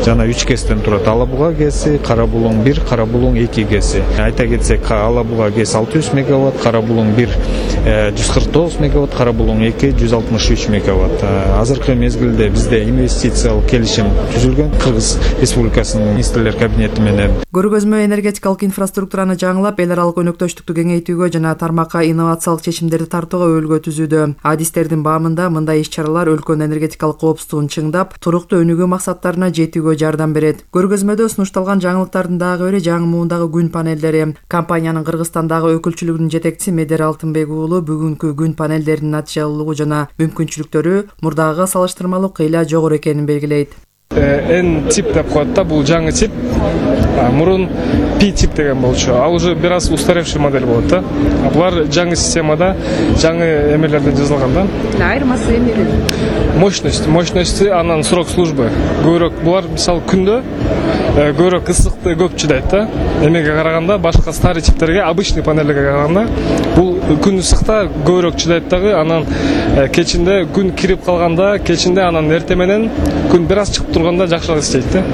жана 3 КЭСтен турат. Ала Буга КЭСи, Кара Булуң 1, Кара Булуң 2 КЭСи. Айта кетсек, Ала Буга КЭС 600 мегаватт, Кара Булуң 1 149 мегаватт, Кара Булуң 2 163 мегаватт. Азыркы мезгилде бизде инвестициялык келишим түзүлгөн Кыргыз Республикасынын министрлер кабинети менен. Көргөзмө энергетикалык инфраструктураны жаңылап, эл аралык өнөктөштүктү кеңейтүүгө жана тармакка инновациялык чечимдерди тартууга өбөлгө түзүүдө. Адистердин баамында мындай иш-чаралар өлкөнүн энергетикалык коопсуздугун чыңдап, туруктуу өнүгүү максаттарына жетүүгө жардам берет. Көргөзмөдө сунушталган жаңылыктардын дагы бири жаңы муундагы күн панелдери. Компаниянын Кыргызстандагы өкүлчүлүгүнүн жетекчиси Медер Алтынбек уулу бүгүнкү күн панелдеринин натыйжалуулугу жана мүмкүнчүлүктөрү мурдагыга салыштырмалуу кыйла жогору экенин белгилейт. N тип деп коет да, бул жаңы тип. Мурун P тип деген болчу. Ал уже бир аз устаревший модель болот да. Булар жаңы системада, жаңы эмелерден жазылган да. Айырмасы эмне? Мощности, анан срок службы. Көбүрөөк булар мисалы күндө көбүрөөк ысыкты көп чыдайт да. Эмеге караганда башка старый типтерге, обычный панельге караганда бул күн ысыкта көбүрөөк чыдайт дагы. Анан кечинде күн кирип калганда, кечинде анан эртең менен күн бир аз чыгып турганда жакшыраак иштейт да.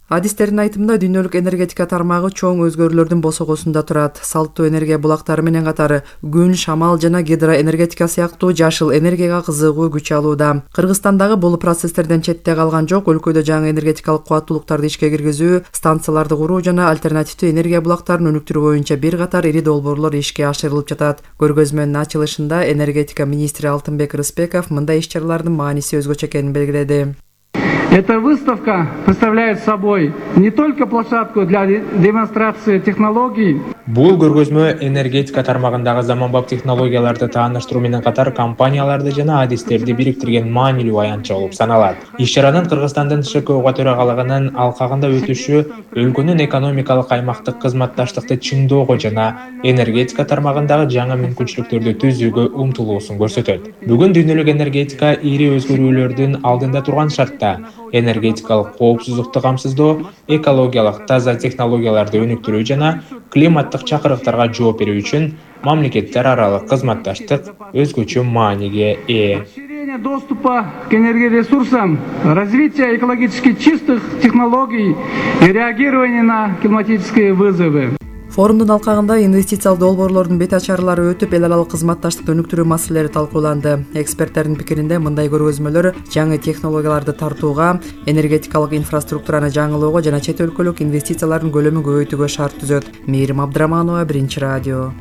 Адистердин айтымында дүйнөлүк энергетика тармагы чоң өзгөрүүлөрдүн босогосунда турат. Салттуу энергия булактары менен катары күн, шамал жана гидроэнергетика сыяктуу жашыл энергияга кызыгуу күч алууда. Кыргызстандагы бул процесстерден четте калган жок. Өлкөдө жаңы энергетикалык кубаттуулуктарды ишке киргизүү, станцияларды куруу жана альтернативдүү энергия булактарын өнүктүрүү боюнча бир катар ири долбоорлор ишке ашырылып жатат. Көргөзмөнүн ачылышында энергетика министри Алтынбек Рыспеков мындай иш-чаралардын мааниси өзгөчө экенин белгиледи. Эта выставка представляет собой не только площадку для демонстрации технологий. Бул көргөзмө энергетика тармагындагы заманбап технологияларды тааныштыруу менен катар компанияларды жана адистерди бириктирген маанилүү аянтча болуп саналат. Иш-чаранын Кыргызстандын ШКО төрагалыгынын алкагында өтүшү өлкөнүн экономикалык аймактык кызматташтыкты чыңдоого жана энергетика тармагындагы жаңы мүмкүнчүлүктөрдү түзүүгө умтулуусун көрсөтөт. Бүгүн дүйнөлүк энергетика ири өзгөрүүлөрдүн алдында турган шартта энергетикалык коопсуздукту камсыздоо, экологиялык таза технологияларды өнүктүрүү жана климаттык чакырыктарга жооп берүү үчүн мамлекеттер аралык кызматташтык өзгөчө мааниге ээ. Доступа к энергоресурсам, развитие экологически чистых технологий и реагирование на климатические вызовы. Форумдун алкагында инвестициялык долбоорлордун бет ачарлары өтүп, эл аралык кызматташтыкты өнүктүрүү маселелери талкууланды. Эксперттердин пикиринде мындай көргөзмөлөр жаңы технологияларды тартууга, энергетикалык инфраструктураны жаңылоого жана чет өлкөлүк инвестициялардын көлөмүн көбөйтүүгө шарт түзөт. Мээрим Абдраманова, Биринчи радио.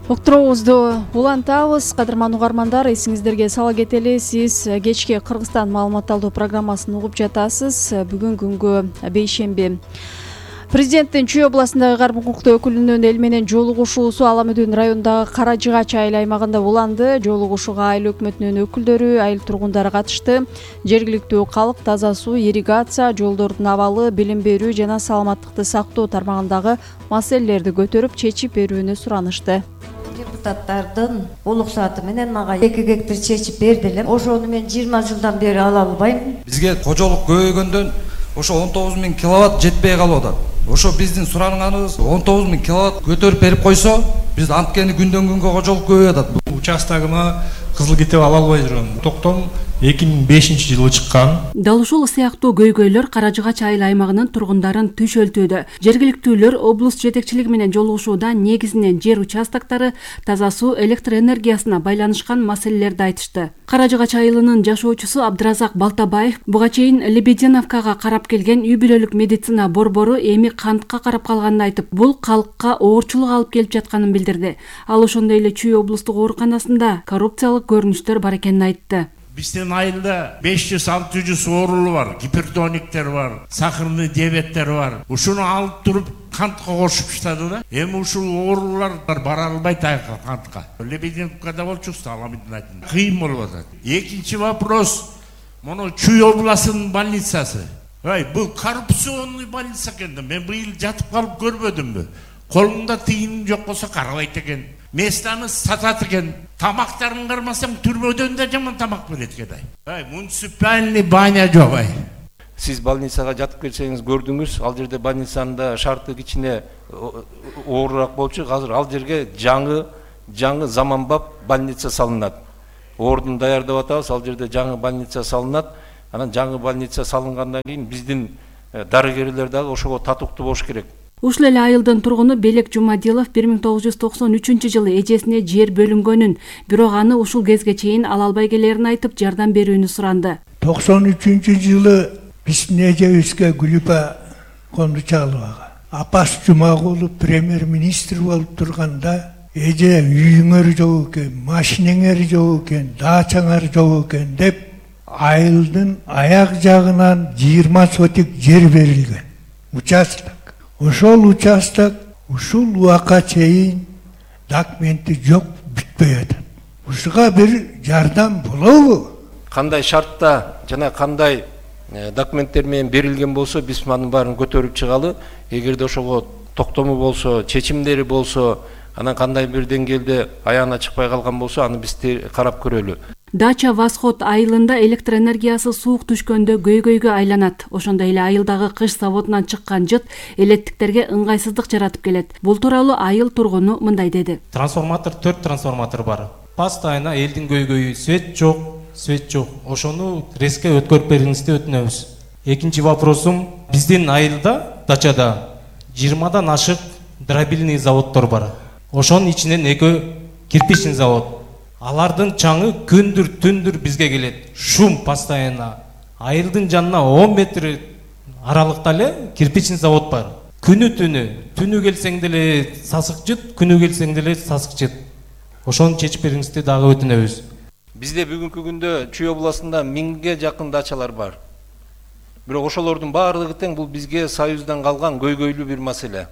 Уктуруубузду улантабыз. Кадырман угармандар, эсиңиздерге сала кетели, сиз кечки Кыргызстан маалыматталдоо программасын угуп жатасыз. Бүгүн күнгү бейшемби. Президенттин Чүй областындагы кармын укуктуу өкүлүнүн эл менен жолугушуусу Ала Мүдүн районундагы Кара Жыгач айыл аймагында уланды. Жолугушууга айыл өкмөтүнүн өкүлдөрү, айыл тургундары катышты. Жергиликтүү калк таза суу, ирригация, жолдордун абалы, билим берүү жана саламаттыкты сактоо тармагындагы маселелерди көтөрүп, чечип берүүнү суранышты. Депутаттардын уруксаты менен мага 2 гектар чечип бердилер. Ошону мен 20 жылдан бери ала албайм. Бизге кожолук көбөйгөндөн ошо 19 000 киловатт жетпей калып атат. Ошо биздин суранганыбыз 19 000 киловатт көтөрүп берип койсо, биз анткени күндөн күнгө кожолук көбөйүп атат. Участогуна кызыл китеп ала албай жүрөм. Токтом 2005-жылы чыккан. Дал ушул сыяктуу көйгөйлөр Кара Жыгач айыл аймагынын тургундарын түшөлтүүдө. Жергиликтүүлөр облус жетекчилиги менен жолугушууда негизинен жер участоктары, таза суу, электр энергиясына байланышкан маселелерди айтышты. Кара Жыгач айылынын жашоочусу Абдыразак Балтабаев буга чейин Лебединовкага карап келген үй бүлөлүк медицина борбору эми кантка карап калганын айтып, бул калкка оорчулук алып келип жатканын билдирди. Ал ошондой эле Чүй облустук ооруканасында коррупциялык көрүнүштөр бар экенин айтты. Биздин айылда 500-600 оорулу бар, гипертониктер бар, сахарный диабеттер бар. Ушуну алып туруп кантка кошуптады да. Эми ушул оорулар бара албайт кантка. Лебединовкада болчубуз, Ала Мүдүн айтында. Кыйын болуп атат. Экинчи вопрос, мону Чүй областынын больницасы. Бул коррупционный больница экен. Мен быйыл жатып калып көрбөдүмбү? Колуңда тыйыным жок болсо карабайт экен. Местаны сатат экен. Тамактарын кармасаң түрмөдөн да жаман тамак берет экен. Муниципальный баня жок. Сиз больницага жатып келсеңиз көрдүңүз, ал жерде больницанын да шарты кичине оорураак болчу. Азыр ал жерге жаңы заманбап больница салынат. Ордун даярдап атабыз, ал жерде жаңы больница салынат. анан жаңы больница салынгандан кийин биздин дарыгерлер дагы ошого татыктуу болуш керек. Ушул эле айылдын тургуну Белек Жумадилов 1993-жылы эжесине жер бөлүнгөнүн, бирок аны ушул кезге чейин ала албай келерин айтып, жардам берүүнү суранды. 93-жылы биздин эжебизге Гүлүпа Кондучаловага Апас Жумагулов премьер-министр болуп турганда эже үйүңөр жок экен, машинеңер жок экен, дачаңар жок экен деп айылдын аяк жагынан 20 сотик жер берилген. Участок. Ошол участок ушул убакка чейин документи жок, бүтпөй атат. Ушуга бир жардам болобу? Кандай шартта жана кандай документтер менен берилген болсо, биз анын баарын көтөрүп чыгалы. Эгерде ошого токтому болсо, чечимдери болсо, анан кандай бир деңгээлде аягына чыкпай калган болсо, аны биз карап көрөлү. Дача Восход айылында электр энергиясы суук түшкөндө көйгөйгө айланат. Ошондой эле айылдагы кыш заводунан чыккан жыт элеттиктерге ыңгайсыздык жаратып келет. Бул тууралуу айыл тургуну мындай деди. 4 трансформатор бар. Постоянно элдин көйгөйү, свет жок. Ошону резке өткөрүп бериңизди өтүнөбүз. Экинчи вопросум, биздин айылда, дачада 20дан ашык дробильный заводдор бар. Ошонун ичинен 2 кирпичный завод. Алардын чаңы күндүр түндүр бизге келет. Шум постоянно. Айылдын жанына 10 метр аралыкта эле кирпичный завод бар. Түнү келсең деле сасык жыт, күнү келсең деле сасык жыт. Ошону чечип бериңизди дагы өтүнөбүз. Бизде бүгүнкү күндө Чүй областында 1000ге жакын дачалар бар. Бирок ошолордун баардыгы тең бул бизге Союздан калган көйгөйлүү бир маселе.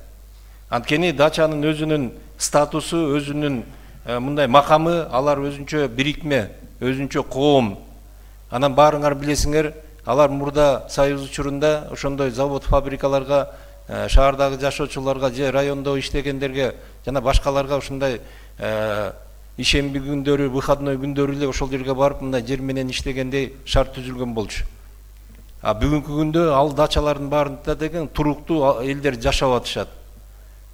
Анткени дачанын өзүнүн статусу, өзүнүн мындай макамы, алар өзүнчө бирикме, өзүнчө коом. Анан баарыңар билесиңер, алар мурда Союз учурунда ошондой завод, фабрикаларга, шаардагы жашоочуларга же райондо иштегендерге жана башкаларга ушундай ишемби күндөрү, выходной күндөрү эле ошол жерге барып мындай жер менен иштегендей шарт түзүлгөн болчу. Бүгүнкү күндө ал дачалардын баарында деген туруктуу элдер жашап атышат.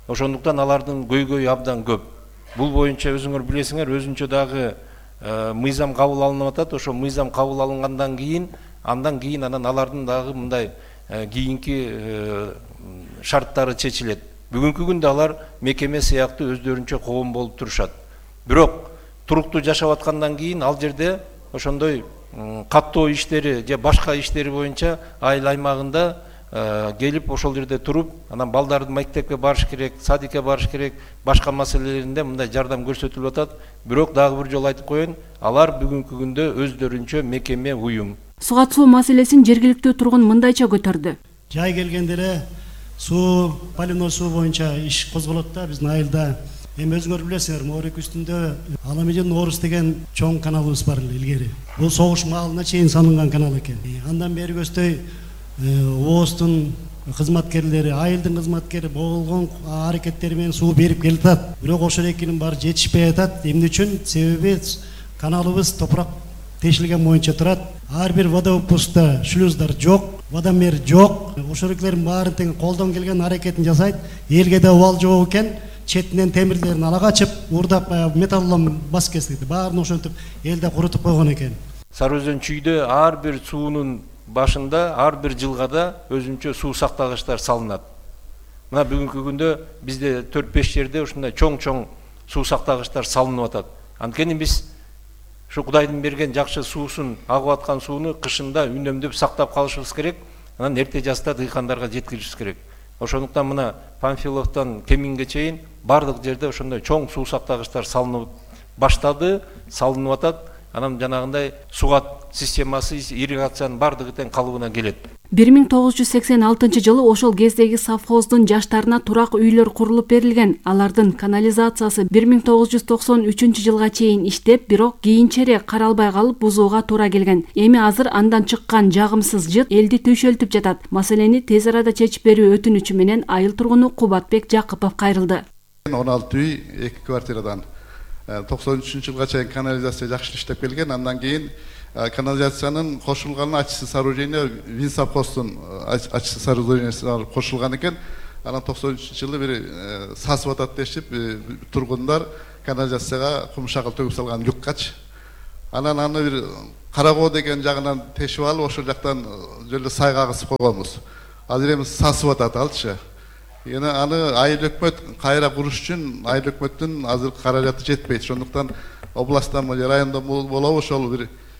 Ошондуктан алардын көйгөйү абдан көп. Бул боюнча өзүңөр билесиңер, өзүнчө дагы мыйзам кабыл алынып атат. Ошо мыйзам кабыл алынгандан кийин, анан алардын дагы мындай кийинки шарттары чечилет. Бүгүнкү күндө алар мекеме сыяктуу өздөрүнчө коом болуп турушат. Бирок туруктуу жашап аткандан кийин ал жерде ошондой каттоо иштери же башка иштери боюнча айыл аймагында келип ошол жерде туруп, анан балдарды мектепке барыш керек, садикке барыш керек, башка маселелеринде мындай жардам көрсөтүлүп атат. Бирок дагы бир жолу айтып коеюн, алар бүгүнкү күндө өздөрүнчө мекеме, уюм. Суга суу маселесин жергиликтүү тургун мындайча көтөрдү. Жай келгенде эле суу, поливной суу боюнча иш козголот да биздин айылда. Эми өзүңөр билесиңер, Моорек үстүндө Аламедин Орус деген чоң каналыбыз бар илгери. Бул согуш маалына чейин салынган канал экен. Андан бери көздөй ооздун кызматкерлери, айылдын кызматкери болгон аракеттери менен суу берип келатат. Бирок ошол экинин баары жетишпей атат. Эмне үчүн? Себеби каналыбыз топурак тешилген боюнча турат. Ар бир водовыпускта шлюздар жок, водомер жок. Ошолордун баарын тең колдон келген аракетин жасайт. Элге да убал жок экен. Четинен темирлерин ала качып, урдап металлом бас кести. Баарын ошентип элде курутуп койгон экен. Сары Өзөн чүйдө ар бир суунун башында, ар бир жылгада өзүнчө суу сактагычтар салынат. Мына бүгүнкү күндө бизде 4-5 жерде ушундай чоң-чоң суу сактагычтар салынып атат. Анткени биз ушу Кудайдын берген жакшы суусун, агып аткан сууну кышында үнөмдөп сактап калышыбыз керек. Анан эрте жазда дыйкандарга жеткиришибиз керек. Ошондуктан мына Панфиловдон Кеминге чейин бардык жерде ошондой чоң суу сактагычтар салынып баштады, салынып атат. Анан жанагындай сугат системасы, ирригациянын бардыгы тең калыбына келет. 1986-жылы ошол кездеги совхоздун жаштарына турак үйлөр курулуп берилген. Алардын канализациясы 1993-жылга чейин иштеп, бирок кийинчерээк каралбай калып бузууга туура келген. Эми азыр андан чыккан жагымсыз жыт элди түйшөлтүп жатат. Маселени тез арада чечип берүү өтүнүчү менен айыл тургуну Кубатбек Жакыпов кайрылды. 16 үй, 2 квартирадан 93-жылга чейин канализация жакшы иштеп келген. Андан кийин канализациянын кошулган ачысы сооружение Винсовхоздун ачысы сооружениесине кошулган экен. Анан 93-жылы бир сасып атат дешип тургундар канализацияга кумшагыл төгүп салган люккач Анан аны бир Карагоо деген жагынан тешип алып, ошол жактан жолу сайга кысып койгонбуз. Азыр эми сасып атат алчы. Аны айыл өкмөт кайра куруш үчүн айыл өкмөттүн азыр каражаты жетпейт. Ошондуктан областтан райондо болобу ошол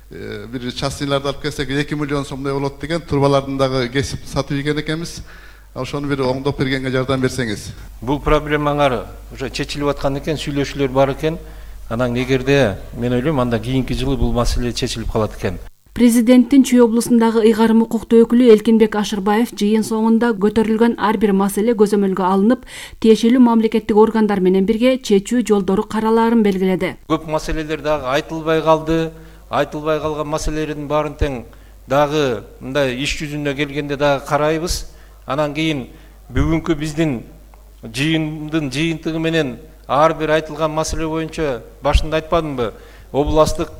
бир частныйларды алып келсек 2 миллион сомдой болот деген турбалардын дагы кесип сатып ийген экенбиз. Ошону бир оңдоп бергенге жардам берсеңиз. Бул проблемаңар уже чечилип аткан экен, сүйлөшүүлөр бар экен. Анан эгерде мен ойлойм анда кийинки жылы бул маселе чечилип калат экен. Президенттин Чүй облусундагы ыйгарым укуктуу өкүлү Элкинбек Ашырбаев жыйын соңунда көтөрүлгөн ар бир маселе көзөмөлгө алынып, тиешелүү мамлекеттик органдар менен бирге чечүү жолдору каралаарын белгиледи. Көп маселелер дагы айтылбай калды. Айтылбай калган маселелердин баарын тең дагы мындай иш жүзүнө келгенде дагы карайбыз. Анан кийин бүгүнкү биздин жыйындын жыйынтыгы менен ар бир айтылган маселе боюнча башында айтпадымбы? Областтык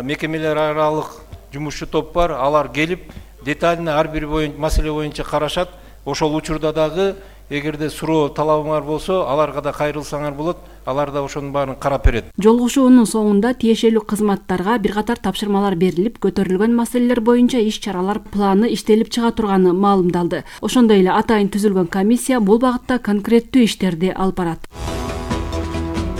мекемелер аралык жумушчу топ бар, алар келип детально ар бир маселе боюнча карашат. Ошол учурда дагы эгерде суроо талабыңар болсо, аларга да кайрылсаңар болот, алар да ошонун баарын карап берет. Жолугушуунун соңунда тиешелүү кызматтарга бир катар тапшырмалар берилип, көтөрүлгөн маселелер боюнча иш-чаралар планы иштелип чыга турганы маалымдалды. Ошондой эле атайын түзүлгөн комиссия бул багытта конкреттүү иштерди алып барат.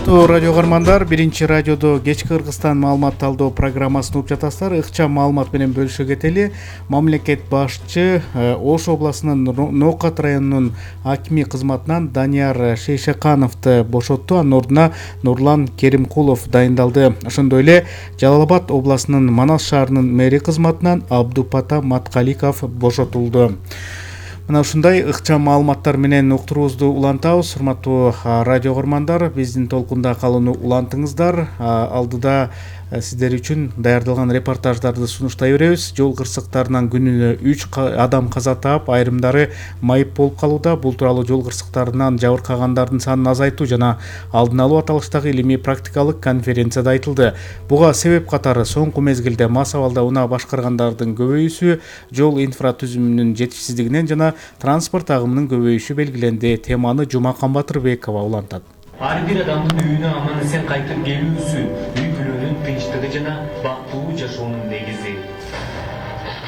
Радио каармандар, биринчи радиодо кечки Кыргызстан маалымат талдоо программасын угуп жатасыздар. Ыкчам маалымат менен бөлүшө кетели. Мамлекет башчы Ош областынын Ноокат районунун акими кызматынан Данияр Шейшекановду бошотту. Анын ордуна Нурлан Керимкулов дайындалды. Ошондой эле Жалал Абад областынын Манас шаарынын мэри кызматынан Абдупата Маткаликов бошотулду. Мына ушундай ыкчам маалыматтар менен уктуруубузду улантабыз. Урматтуу радио көрмандар, биздин толкунда калууну улантыңыздар. Алдыда сиздер үчүн даярдалган репортаждарды сунуштай беребиз. Жол кырсыктарынан күнүнө 3 адам каза таап, айрымдары майып болуп калууда. Бул тууралуу жол кырсыктарынан жабыркагандардын санын азайтуу жана алдын алуу аталыштагы илимий практикалык конференцияда айтылды. Буга себеп катары соңку мезгилде мас абалда унаа башкаргандардын көбөйүүсү, жол инфратүзүмүнүн жетишсиздигинен жана транспорт агымынын көбөйүшү белгиленди. Теманы Жумакан Батырбекова улантат. Ар бир адамдын үйүнө аман эсен кайтып келүүсү, үй бүлөнүн тынчтыгы жана бактылуу жашоонун негизи.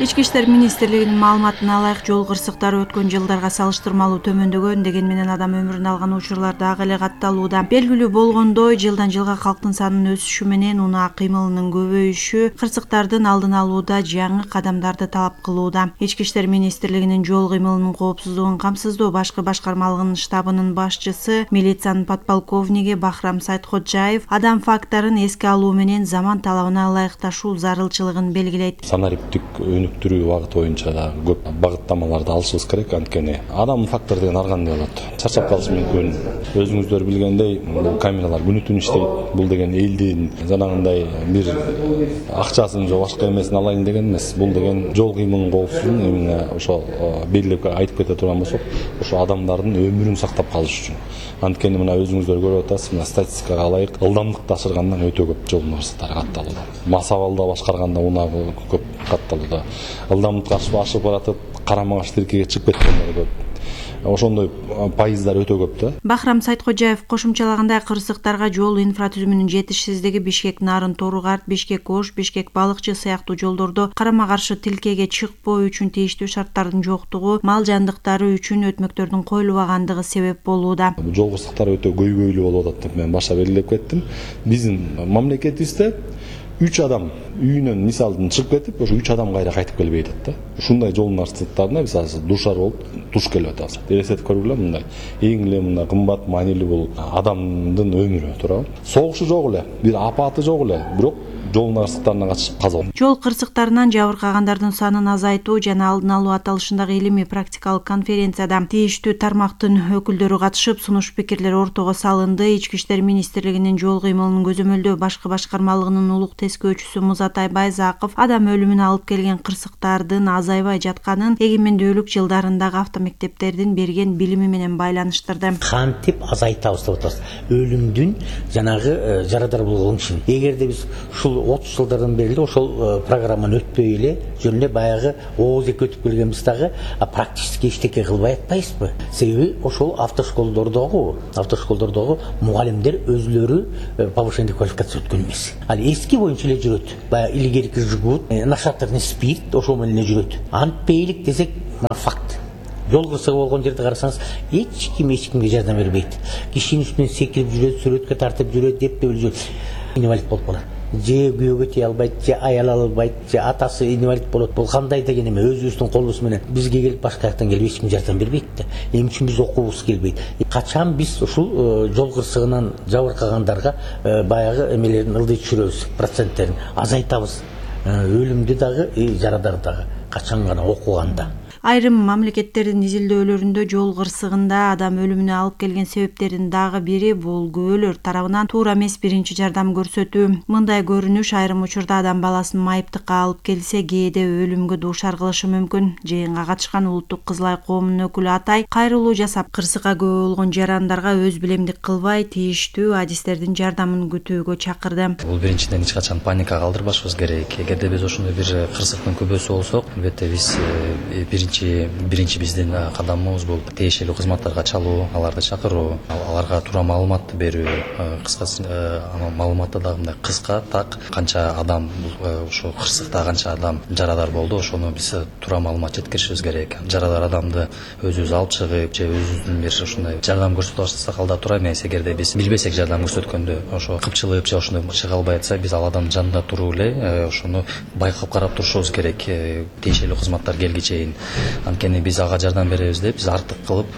Ички иштер министрлигинин маалыматына ылайык, жол кырсыктары өткөн жылдарга салыштырмалуу төмөндөгөн, дегени менен адам өмүрүн алган учурлар дагы эле катталууда. Белгилүү болгондой, жылдан жылга калктын санынын өсүшү менен унаа кыймылынын көбөйүшү кырсыктардын алдын алууда жаңы кадамдарды талап кылууда. Ички иштер министрлигинин жол кыймылынын коопсуздугун камсыздоо башкы башкармалыгынын штабынын башчысы, милициянын подполковниги Бахрам Сайтходжаев адам факторун эске алуу менен заман талабына ылайыкташуу зарылчылыгын белгилейт. Санариптик өнүктүрүү багыты боюнча да көп багыттамаларды алышыбыз керек. Анткени адам фактор деген ар кандай болот. Чарчап калышы мүмкүн. Өзүңүздөр билгендей, бул камералар күнү түнү иштейт. Бул деген элдин жанагындай бир акчасын же башка эмесин алайын деген эмес. Бул деген жол кыймылынын коопсуздугун именно ошо белгилеп айтып кете турган болсок, ошо адамдардын өмүрүн сактап калыш үчүн. Анткени мына өзүңүздөр көрүп атасыз, мына статистикага ылайык ылдамдыкты ашыргандан өтө көп жол кырсыктары катталууда. Мас абалда башкарганда унаа көп катталууда. Ылдамдыкты ашып баратып, карама-каршы тилкеге чыгып кеткендер көп. Ошондой пайыздар өтө көп да. Бахрам Сайтходжаев кошумчалагандай, кырсыктарга жол инфратүзүмүнүн жетишсиздиги Бишкек Нарын Торугарт, Бишкек Ош, Бишкек Балыкчы сыяктуу жолдордо карама-каршы тилкеге чыкпоо үчүн тийиштүү шарттардын жоктугу, мал жандыктары үчүн өтмөктөрдүн коюлбагандыгы себеп болууда. Жол кырсыктары өтө көйгөйлүү болуп атат деп мен башта белгилеп кеттим. Биздин мамлекетибизде 3 адам үйүнөн мисалдын чыгып кетип, ошо 3 адам кайра кайтып келбей атат да. Ушундай жол маршруттарына биз азыр душар болуп туш келип атабыз. Элестетип көргүлө, мындай эң эле мындай кымбат, маанилүү бул адамдын өмүрү туурабы. Согушу жок эле, бир апаты жок эле, бирок жол нарсыктарына катышып каза болду. Жол кырсыктарынан жабыркагандардын санын азайтуу жана алдын алуу аталышындагы илимий практикалык конференцияда тийиштүү тармактын өкүлдөрү катышып, сунуш пикирлер ортого салынды. Ички иштер министрлигинин жол кыймылынын көзөмөлдөө башкы башкармалыгынын улук тескөөчүсү Музатай Байзаков адам өлүмүнө алып келген кырсыктардын азайбай жатканын эгемендүүлүк жылдарындагы автомектептердин берген билими менен байланыштырды. Кантип азайтабыз деп атабыз өлүмдүн жанагы жарадар болгон ишин. Эгерде биз ушул 30 жылдардан бери ошол программаны өтпөй эле жөн эле баягы ооз эки өтүп келгенбиз дагы практически эчтеке кылбай атпайбызбы? Себеби ошол автошколдордогу мугалимдер өзүлөрү повышение квалификация өткөн эмес. Ал эски боюнча эле жүрөт. Баягы илгерки жигут, нашатырный спирт ошол менен эле жүрөт. Антпейлик десек, факт. Жол кырсыгы болгон жерди карасаңыз, эч кимге жардам бербейт. Кишинин үстүнөн секирип жүрөт, сүрөткө тартып жүрөт, деп жүрөт. Инвалид болуп калат. Же күйөөгө тие албайт, же аял албайт, же атасы инвалид болот. Бул кандай деген эме, өзүбүздүн колубуз менен бизге келип башка жактан келип эч ким жардам бербейт да. Эмне үчүн биз окуубуз келбейт? Качан биз ушул жол кырсыгынан жабыркагандарга баягы эмелерин ылдый түшүрөбүз, проценттерин азайтабыз. Өлүмдү дагы, жарадарды дагы качан гана окуганда. Айрым мамлекеттердин изилдөөлөрүндө жол кырсыгында адам өлүмүнө алып келген себептердин дагы бири бул күбөлөр тарабынан туура эмес биринчи жардам көрсөтүү. Мындай көрүнүш айрым учурда адам баласын майыптыкка алып келсе, кээде өлүмгө дуушар кылышы мүмкүн. Жыйынга катышкан Улуттук Кызыл Ай коомунун өкүлү Атай кайрылуу жасап, кырсыкка күбө болгон жарандарга өз билемдик кылбай, тийиштүү адистердин жардамын күтүүгө чакырды. Бул биринчиден эч качан паника калтырбашыбыз керек. Эгерде биз ошондой бир кырсыктын күбөсү болсок, албетте биз биринчи биздин кадамыбыз бул тиешелүү кызматтарга чалуу, аларды чакыруу, аларга туура маалыматты берүү. Кыскасы маалыматты дагы мындай кыска, так, канча адам ошо кырсыкта канча адам жарадар болду, ошону биз туура маалымат жеткиришибиз керек. Жарадар адамды өзүбүз алып чыгып, же өзүбүздүн бир ошондой жардам көрсөтүп баштасак алда туура эмес. Эгерде биз билбесек жардам көрсөткөндө, ошо кыпчылып же ошондой чыга албай атса, биз ал адамдын жанында туруп эле ошону байкап карап турушубуз керек. Тиешелүү кызматтар келгиче чейин. Анткени биз ага жардам беребиз деп, биз артык кылып,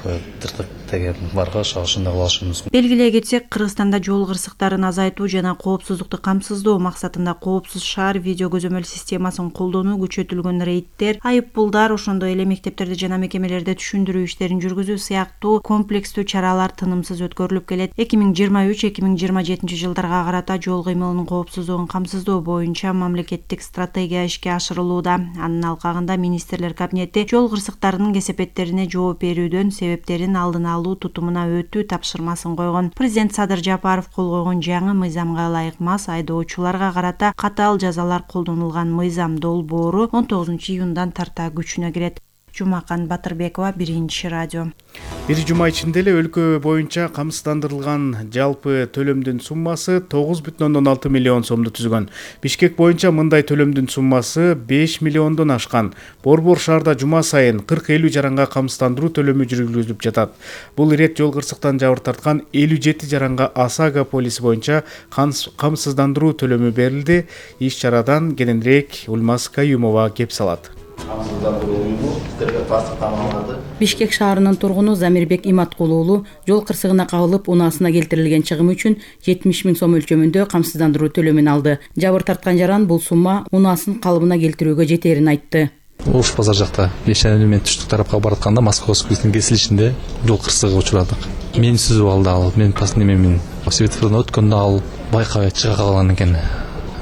тыртык деген барга ошондой кыла алышыбыз мүмкүн. Белгилей кетсек, Кыргызстанда жол кырсыктарын азайтуу жана коопсуздукту камсыздоо максатында коопсуз шаар видео көзөмөл системасын колдонуу күчөтүлгөн, рейдтер, айыппулдар, ошондой эле мектептерде жана мекемелерде түшүндүрүү иштерин жүргүзүү сыяктуу комплекстүү чаралар тынымсыз өткөрүлүп келет. 2023-2027 жылдарга карата жол кыймылынын коопсуздугун камсыздоо боюнча мамлекеттик стратегия ишке ашырылууда. Анын алкагында министрлер кабинети жол кырсыктарынын кесепеттерине жооп берүүдөн себептерин алдын алуу тутумуна өтүү тапшырмасын койгон. Президент Садыр Жапаров кол койгон жаңы мыйзамга ылайык мас айдоочуларга карата катаал жазалар колдонулган мыйзам долбоору 19-июндан тарта күчүнө кирет. Жумакан Батырбекова, Биринчи радио. Бир жума ичинде эле өлкө боюнча камсыздандырылган жалпы төлөмдүн суммасы 9,6 миллион сомду түзгөн. Бишкек боюнча мындай төлөмдүн суммасы 5 миллиондон ашкан. Борбор шаарда жума сайын 40-50 жаранга камсыздандыруу төлөмү жүргүзүлүп жатат. Бул ирет жол кырсыктан жабыр тарткан 57 жаранга ОСАГО полиси боюнча камсыздандыруу төлөмү берилди. Иш чарадан кененирээк Улмаз Каюмова кеп салат. Бишкек шаарынын тургуну Замирбек Иматкулу уулу жол кырсыгына кабылып, унаасына келтирилген чыгым үчүн 70 000 сом өлчөмүндө камсыздандыруу төлөмүн алды. Жабыр тарткан жаран бул сумма унаасын калыбына келтирүүгө жетерин айтты. Ош базар жакта Бешенели менен түштүк тарапка баратканда Московскийдин кесилишинде жол кырсыгы учурадык. Мени сүзүп алды ал, мен паснемемин. Светофордон өткөндө ал байкабай чыга калган экен.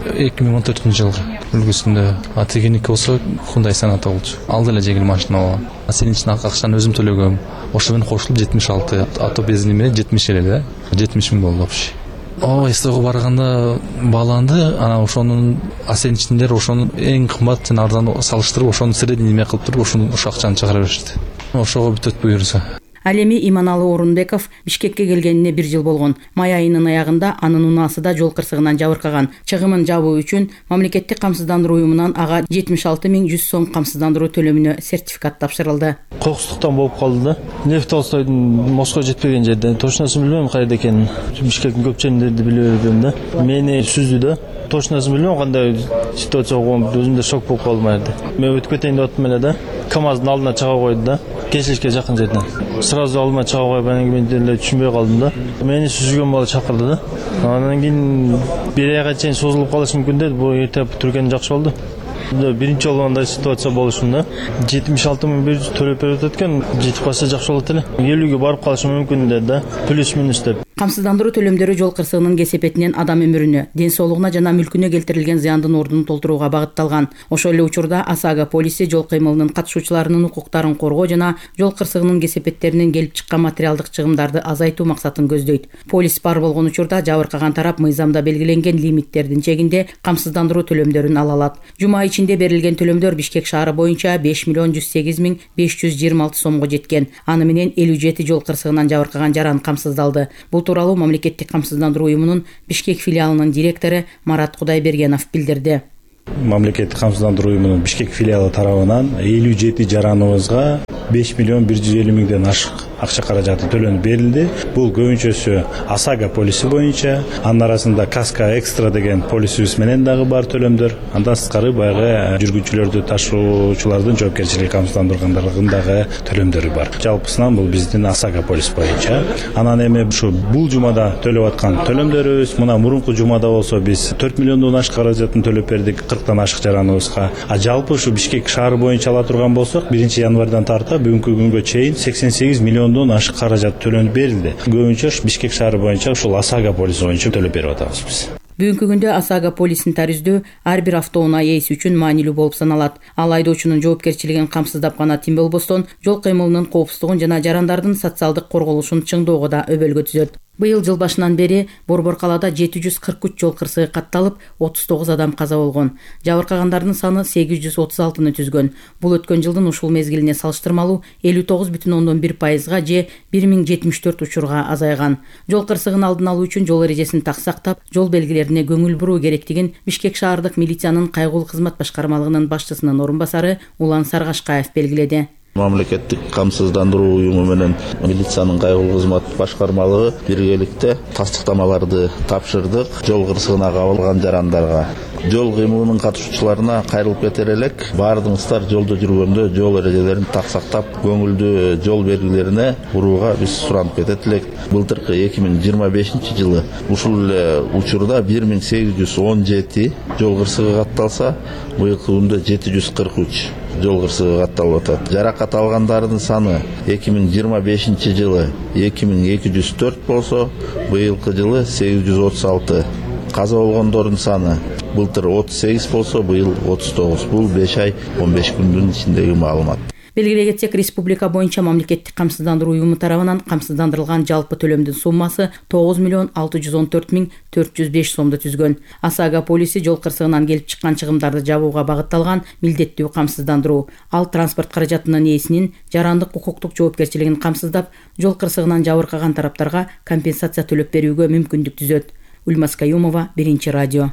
2014 үлгүсүндө А-тегеники болсо Hyundai Sonata болчу. Ал деле жеңил машина болгон. Сенин үчүн акчаны өзүм төлөгөм. Ошо менен кошулуп 76, ато бензини менен 70 эле да. 70 000 болду общий. СТОго барганда бааланды, анан ошонун оценочнийлер ошонун эң кымбат жана арзан салыштырып, ошону средний неме кылып туруп, ошо акчаны чыгара беришти. Ошого бүт өтпөй буюрса. Ал эми Иманалы Орунбеков Бишкекке келгенине 1 жыл болгон. Май айынын аягында анын унаасы да жол кырсыгынан жабыркаган. Чыгымын жабуу үчүн мамлекеттик камсыздандыруу уюмунан ага 76 100 сом камсыздандыруу төлөмүнө сертификат тапшырылды. Кокустуктан болуп калды да. Лев Толстойдун Москва жетпеген жерде. Точносын билбейм кайда экенин. Бишкектин көп жеринде биле бербейм да. Мени сүздү да. Точносын билбейм кандай ситуация болгон, өзүм да шок болуп калдым айрда. Мен өтүп кетейин деп аттым эле да. КамАздын алдына чыга койду да. Кесилишке жакын жерден. Сразу алдыма чыга коюп, анан кийин мен деле түшүнбөй калдым да. Мени сүзгөн бала чакырды да. Анан кийин 1 айга чейин созулуп калышы мүмкүн деди. Бул эрте түргөн жакшы болду. Биринчи жолу андай ситуация болушун да. 76.100 төлөп берип атат экен. Жетип калса жакшы болот эле. 50ге барып калышы мүмкүн да. Плюс минус деп. Камсыздандыруу төлөмдөрү жол кырсыгынын кесепетинен адам өмүрүнө, ден соолугуна жана мүлкүнө келтирилген зыяндын ордун толтурууга багытталган. Ошол эле учурда АСАГА полиси жол кыймылынын катышуучуларынын укуктарын коргоо жана жол кырсыгынын кесепеттеринен келип чыккан материалдык чыгымдарды азайтуу максатын көздөйт. Полис бар болгон учурда жабыркаган тарап мыйзамда белгиленген лимиттердин чегинде камсыздандыруу төлөмдөрүн ала алат. Жума ичинде берилген төлөмдөр Бишкек шаары боюнча 5.108.526 сомго жеткен. Аны менен 57 жол кырсыгынан жабыркаган жаран камсыздалды. Бул тууралуу мамлекеттик камсыздандыруу уюмунун Бишкек филиалынын директору Марат Кудайбергенов билдирди. Мамлекеттик камсыздандыруу уюмунун Бишкек филиалы тарабынан 57 жараныбызга 5.150.000ден ашык акча каражаты төлөнүп берилди. Бул көбүнчөсү АСАГА полиси боюнча, анын арасында Каска Экстра деген полисибиз менен дагы бар төлөмдөр. Андан сырткары баягы жүргүнчүлөрдү ташуучулардын жоопкерчилиги камсыздандыргандагы төлөмдөрү бар. Жалпысынан бул биздин АСАГА полис боюнча. Анан эми ушу бул жумада төлөп аткан төлөмдөрүбүз, мына мурунку жумада болсо биз 4 миллиондон ашык каражатын төлөп бердик 40тан ашык жараныбызга. А жалпы ушу Бишкек шаары боюнча ала турган болсок, 1-январдан тарта бүгүнкү күнгө чейин 88 миллион ашык каражат төлөнүп берилди. Көбүнчө Бишкек шаары боюнча ушул АСАГА полиси боюнча төлөп берип атабыз биз. Бүгүнкү күндө АСАГА полисин тарүздүү ар бир автоунаа ээси үчүн маанилүү болуп саналат. Ал айдоочунун жоопкерчилигин камсыздап гана тим болбостон, жол кыймылынын коопсуздугун жана жарандардын социалдык корголушун чыңдоого да өбөлгө түзөт. Быйыл жыл башынан бери Борбор калаада 743 жол кырсыгы катталып, 39 адам каза болгон. Жабыркагандардын саны 836-ны түзгөн. Бул өткөн жылдын ушул мезгилине салыштырмалуу 59,1%га же 1074 учурга азайган. Жол кырсыгын алдын алуу үчүн жол эрежесин так сактап, жол белгилерине көңүл буруу керектигин Бишкек шаардык милициянын кайгылуу кызмат башкармалыгынын башчысынын орун басары Улан Саргашкаев белгиледи. Мамлекеттик камсыздандыруу уюму менен милициянын кайгылуу кызмат башкармалыгы биргеликте тастыктамаларды тапшырдык. Жол кырсыгына кабылган жарандарга, жол кыймылынын катышуучуларына кайрылып кетер элек, баардыгыңыздар жолдо жүргөндө жол эрежелерин так сактап, көңүлдүү жол белгилерине урууга биз суранып кетет элек. Былтыркы 2025-жылы ушул эле учурда 1817 жол кырсыгы катталса, быйылкы күндө 743 жол кырсыгы катталып атат. Жаракат алгандардын саны 2025-жылы 2204 болсо, быйылкы жылы 836. Каза болгондордун саны былтыр 38 болсо, быйыл 39. Бул 5 ай 15 күндүн ичиндеги маалымат. Белгилей кетсек, республика боюнча мамлекеттик камсыздандыруу уюму тарабынан камсыздандырылган жалпы төлөмдүн суммасы 9.614.405 сомду түзгөн. АСАГА полиси жол кырсыгынан келип чыккан чыгымдарды жабууга багытталган милдеттүү камсыздандыруу. Ал транспорт каражатынын ээсинин жарандык укуктук жоопкерчилигин камсыздап, жол кырсыгынан жабыркаган тараптарга компенсация төлөп берүүгө мүмкүндүк түзөт. Ульмас Каюмова, Биринчи радио.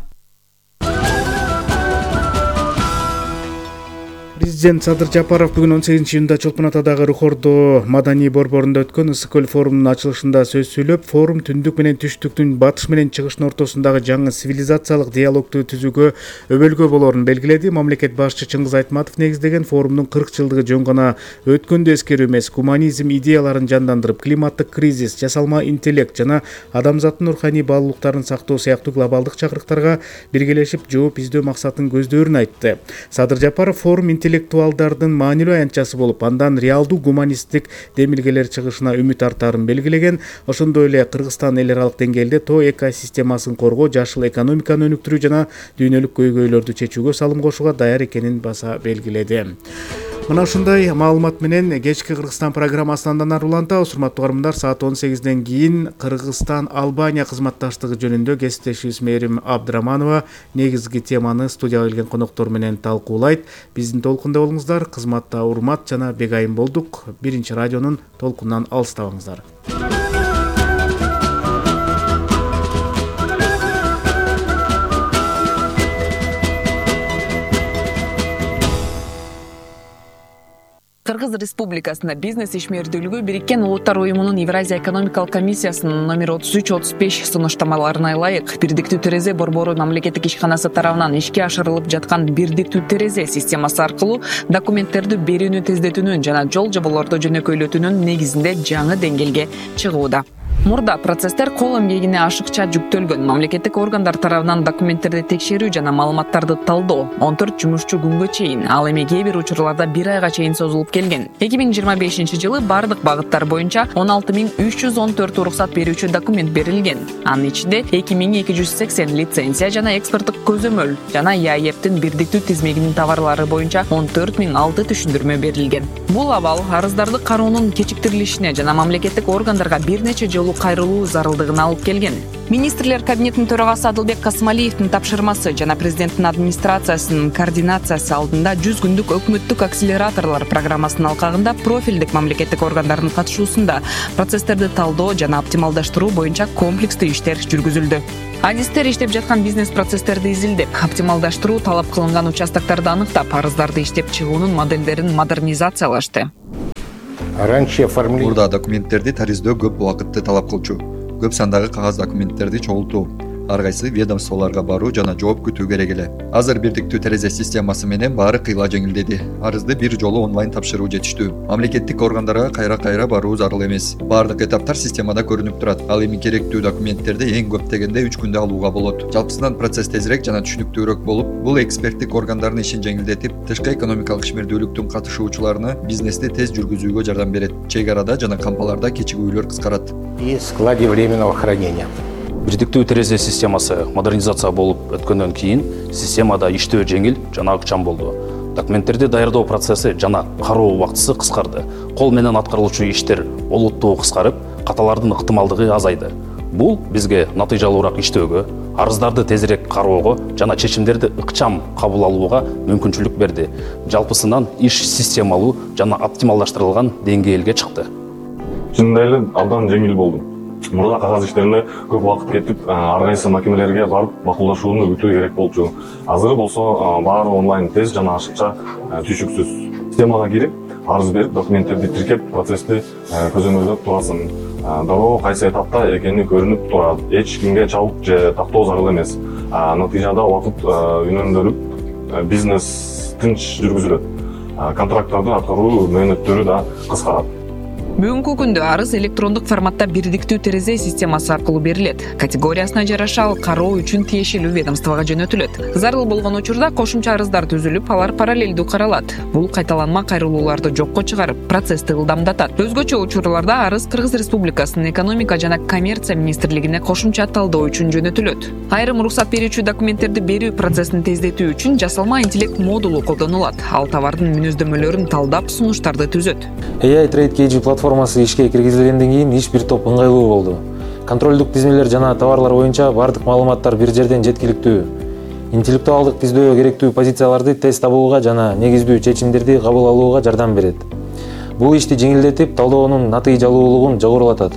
Президент Садыр Жапаров бүгүн 18-июнда Чолпон Атадагы Рухордо маданий борборунда өткөн Ысык көл форумунун ачылышында сөз сүйлөп, форум түндүк менен түштүктүн, батыш менен чыгыштын ортосундагы жаңы цивилизациялык диалогду түзүүгө өбөлгө болорун белгиледи. Мамлекет башчы Чыңгыз Айтматов негиздеген форумдун 40 жылдыгы жөн гана өткөндө эскерүү эмес, гуманизм идеяларын жандандырып, климаттык кризис, жасалма интеллект жана адамзаттын руханий баалуулуктарын сактоо сыяктуу глобалдык чакырыктарга биргелешип жооп издөө максатын көздөрүн айтты. Садыр Жапаров форум интеллектуалдардын маанилүү аянтчасы болуп, андан реалдуу гуманисттик демилгелер чыгышына үмүт артаарын белгилеген. Ошондой эле Кыргызстан эл аралык деңгээлде тоо экосистемасын коргоо, жашыл экономиканы өнүктүрүү жана дүйнөлүк көйгөйлөрдү чечүүгө салым кошууга даяр экенин баса белгиледи. Мына ушундай маалымат менен кечки Кыргызстан программасын андан ары улантабыз. Урматтуу угармандар, саат 18-ден кийин Кыргызстан-Албания кызматташтыгы жөнүндө кесиптешибиз Мээрим Абдыраманова негизги теманы студияга келген коноктор менен талкуулайт. Биздин толкунда болуңуздар. Кызматта урмат жана Бегайым болдук. Биринчи радионун толкунунан алыстабаңыздар. Кыргыз Республикасында бизнес ишмердүүлүгү Бириккен Улуттар Уюмунун Евразия экономикалык комиссиясынын номер 33-35 сунуштамаларына ылайык бирдиктүү терезе борбору мамлекеттик ишканасы тарабынан ишке ашырылып жаткан бирдиктүү терезе системасы аркылуу документтерди берүүнү тездетүүнүн жана жол жоболорду жөнөкөйлөтүүнүн негизинде жаңы деңгээлге чыгууда. Мурда процесстер кол эмгегине ашыкча жүктөлгөн. Мамлекеттик органдар тарабынан документтерди текшерүү жана маалыматтарды талдоо 14 жумушчу күнгө чейин, ал эми кээ бир учурларда 1 айга чейин созулуп келген. 2025-жылы бардык багыттар боюнча 16314 уруксат берүүчү документ берилген. Анын ичинде 2280 лицензия жана экспорттук көзөмөл жана ЯЭПтин бирдиктүү тизмегинин товарлары боюнча 14006 түшүндүрмө берилген. Бул абал арыздарды кароонун кечиктирилишине жана мамлекеттик органдарга бир нече жолу кайрылуу зарылдыгына алып келген. Министрлер кабинетинин төрагасы Адылбек Касымалиевдин тапшырмасы жана президенттин администрациясынын координациясы алдында 100 күндүк өкмөттүк акселераторлор программасынын алкагында профилдик мамлекеттик органдардын катышуусунда процесстерди талдоо жана оптималдаштыруу боюнча комплекстүү иштер жүргүзүлдү. Адистер иштеп жаткан бизнес процесстерди изилдеп, оптималдаштыруу талап кылынган участокторду аныктап, арыздарды иштеп чыгуунун моделдерин модернизациялашты. Мурда документтерди тарыздөө көп убакытты талап кылчу. Көп сандагы кагаз документтерди чогултуу, ар кайсы ведомстволорго баруу жана жооп күтүү керек эле. Азыр бирдиктүү терезе системасы менен баары кыйла жеңилдеди. Арызды бир жолу онлайн тапшыруу жетиштүү. Мамлекеттик органдарга кайра баруу зарыл эмес. Баардык этаптар системада көрүнүп турат. Ал эми керектүү документтерди эң көп дегенде 3 күндө алууга болот. Жалпысынан процесс тезирээк жана түшүнүктүүрөөк болуп, бул эксперттик органдардын ишин жеңилдетип, тышкы экономикалык ишмердүүлүктүн катышуучуларына бизнести тез жүргүзүүгө жардам берет. Чек арада жана кампаларда кечигүүлөр кыскарат. И складе временного хранения. Бирдиктүү терезе системасы модернизация болуп өткөндөн кийин системада иштөө жеңил жана ыкчам болду. Документтерди даярдоо процесси жана кароо убактысы кыскарды. Кол менен аткарылуучу иштер олуттуу кыскарып, каталардын ыктымалдыгы азайды. Бул бизге натыйжалуураак иштөөгө, арыздарды тезирээк кароого жана чечимдерди ыкчам кабыл алууга мүмкүнчүлүк берди. Жалпысынан иш системалуу жана оптималдаштырылган деңгээлге чыкты. Чындап эле абдан жеңил болду. Мурда кагаз иштерине көп убакыт кетип, ар кайсы макемелерге барып макулдашууну күтүү керек болчу. Азыр болсо баары онлайн тез жана ашыкча, түшүксүз. Системага кирип, арыз берип, документтерди тиркеп, процессти көзөмөлдөп турасың. Дароо кайсы этапта экени көрүнүп турат. Эч кимге чабык же тактоо зарыл эмес. Натыйжада убакыт үнөмдөлүп, бизнес тынч жүргүзүлөт. Контракттарды аткаруу мөөнөттөрү да кыскарат. Бүгүнкү күндө арыз электрондук форматта бирдиктүү терезе системасы аркылуу берилет. Категориясына жараша ал кароо үчүн тиешелүү ведомствого жөнөтүлөт. Зарыл болгон учурда кошумча арыздар түзүлүп, алар параллелдүү каралат. Бул кайталанма кайрылууларды жокко чыгарып, процессти ылдамдатат. Өзгөчө учурларда арыз Кыргыз Республикасынын экономика жана коммерция министрлигине кошумча талдоо үчүн жөнөтүлөт. Айрым уруксат берүүчү документтерди берүү процессин тездетүү үчүн жасалма интеллект модулу колдонулат. Ал товардын мүнөздөмөлөрүн талдап, сунуштарды түзөт. AI Trade KG платформасы ишке киргизилгенден кийин иш бир топ ыңгайлуу болду. Контролдук тизмелер жана товарлар боюнча бардык маалыматтар бир жерден жеткиликтүү. Интеллектуалдык тиздөө керектүү позицияларды тез табууга жана негиздүү чечимдерди кабыл алууга жардам берет. Бул ишти жеңилдетип, талдоонун натыйжалуулугун жогорулатат.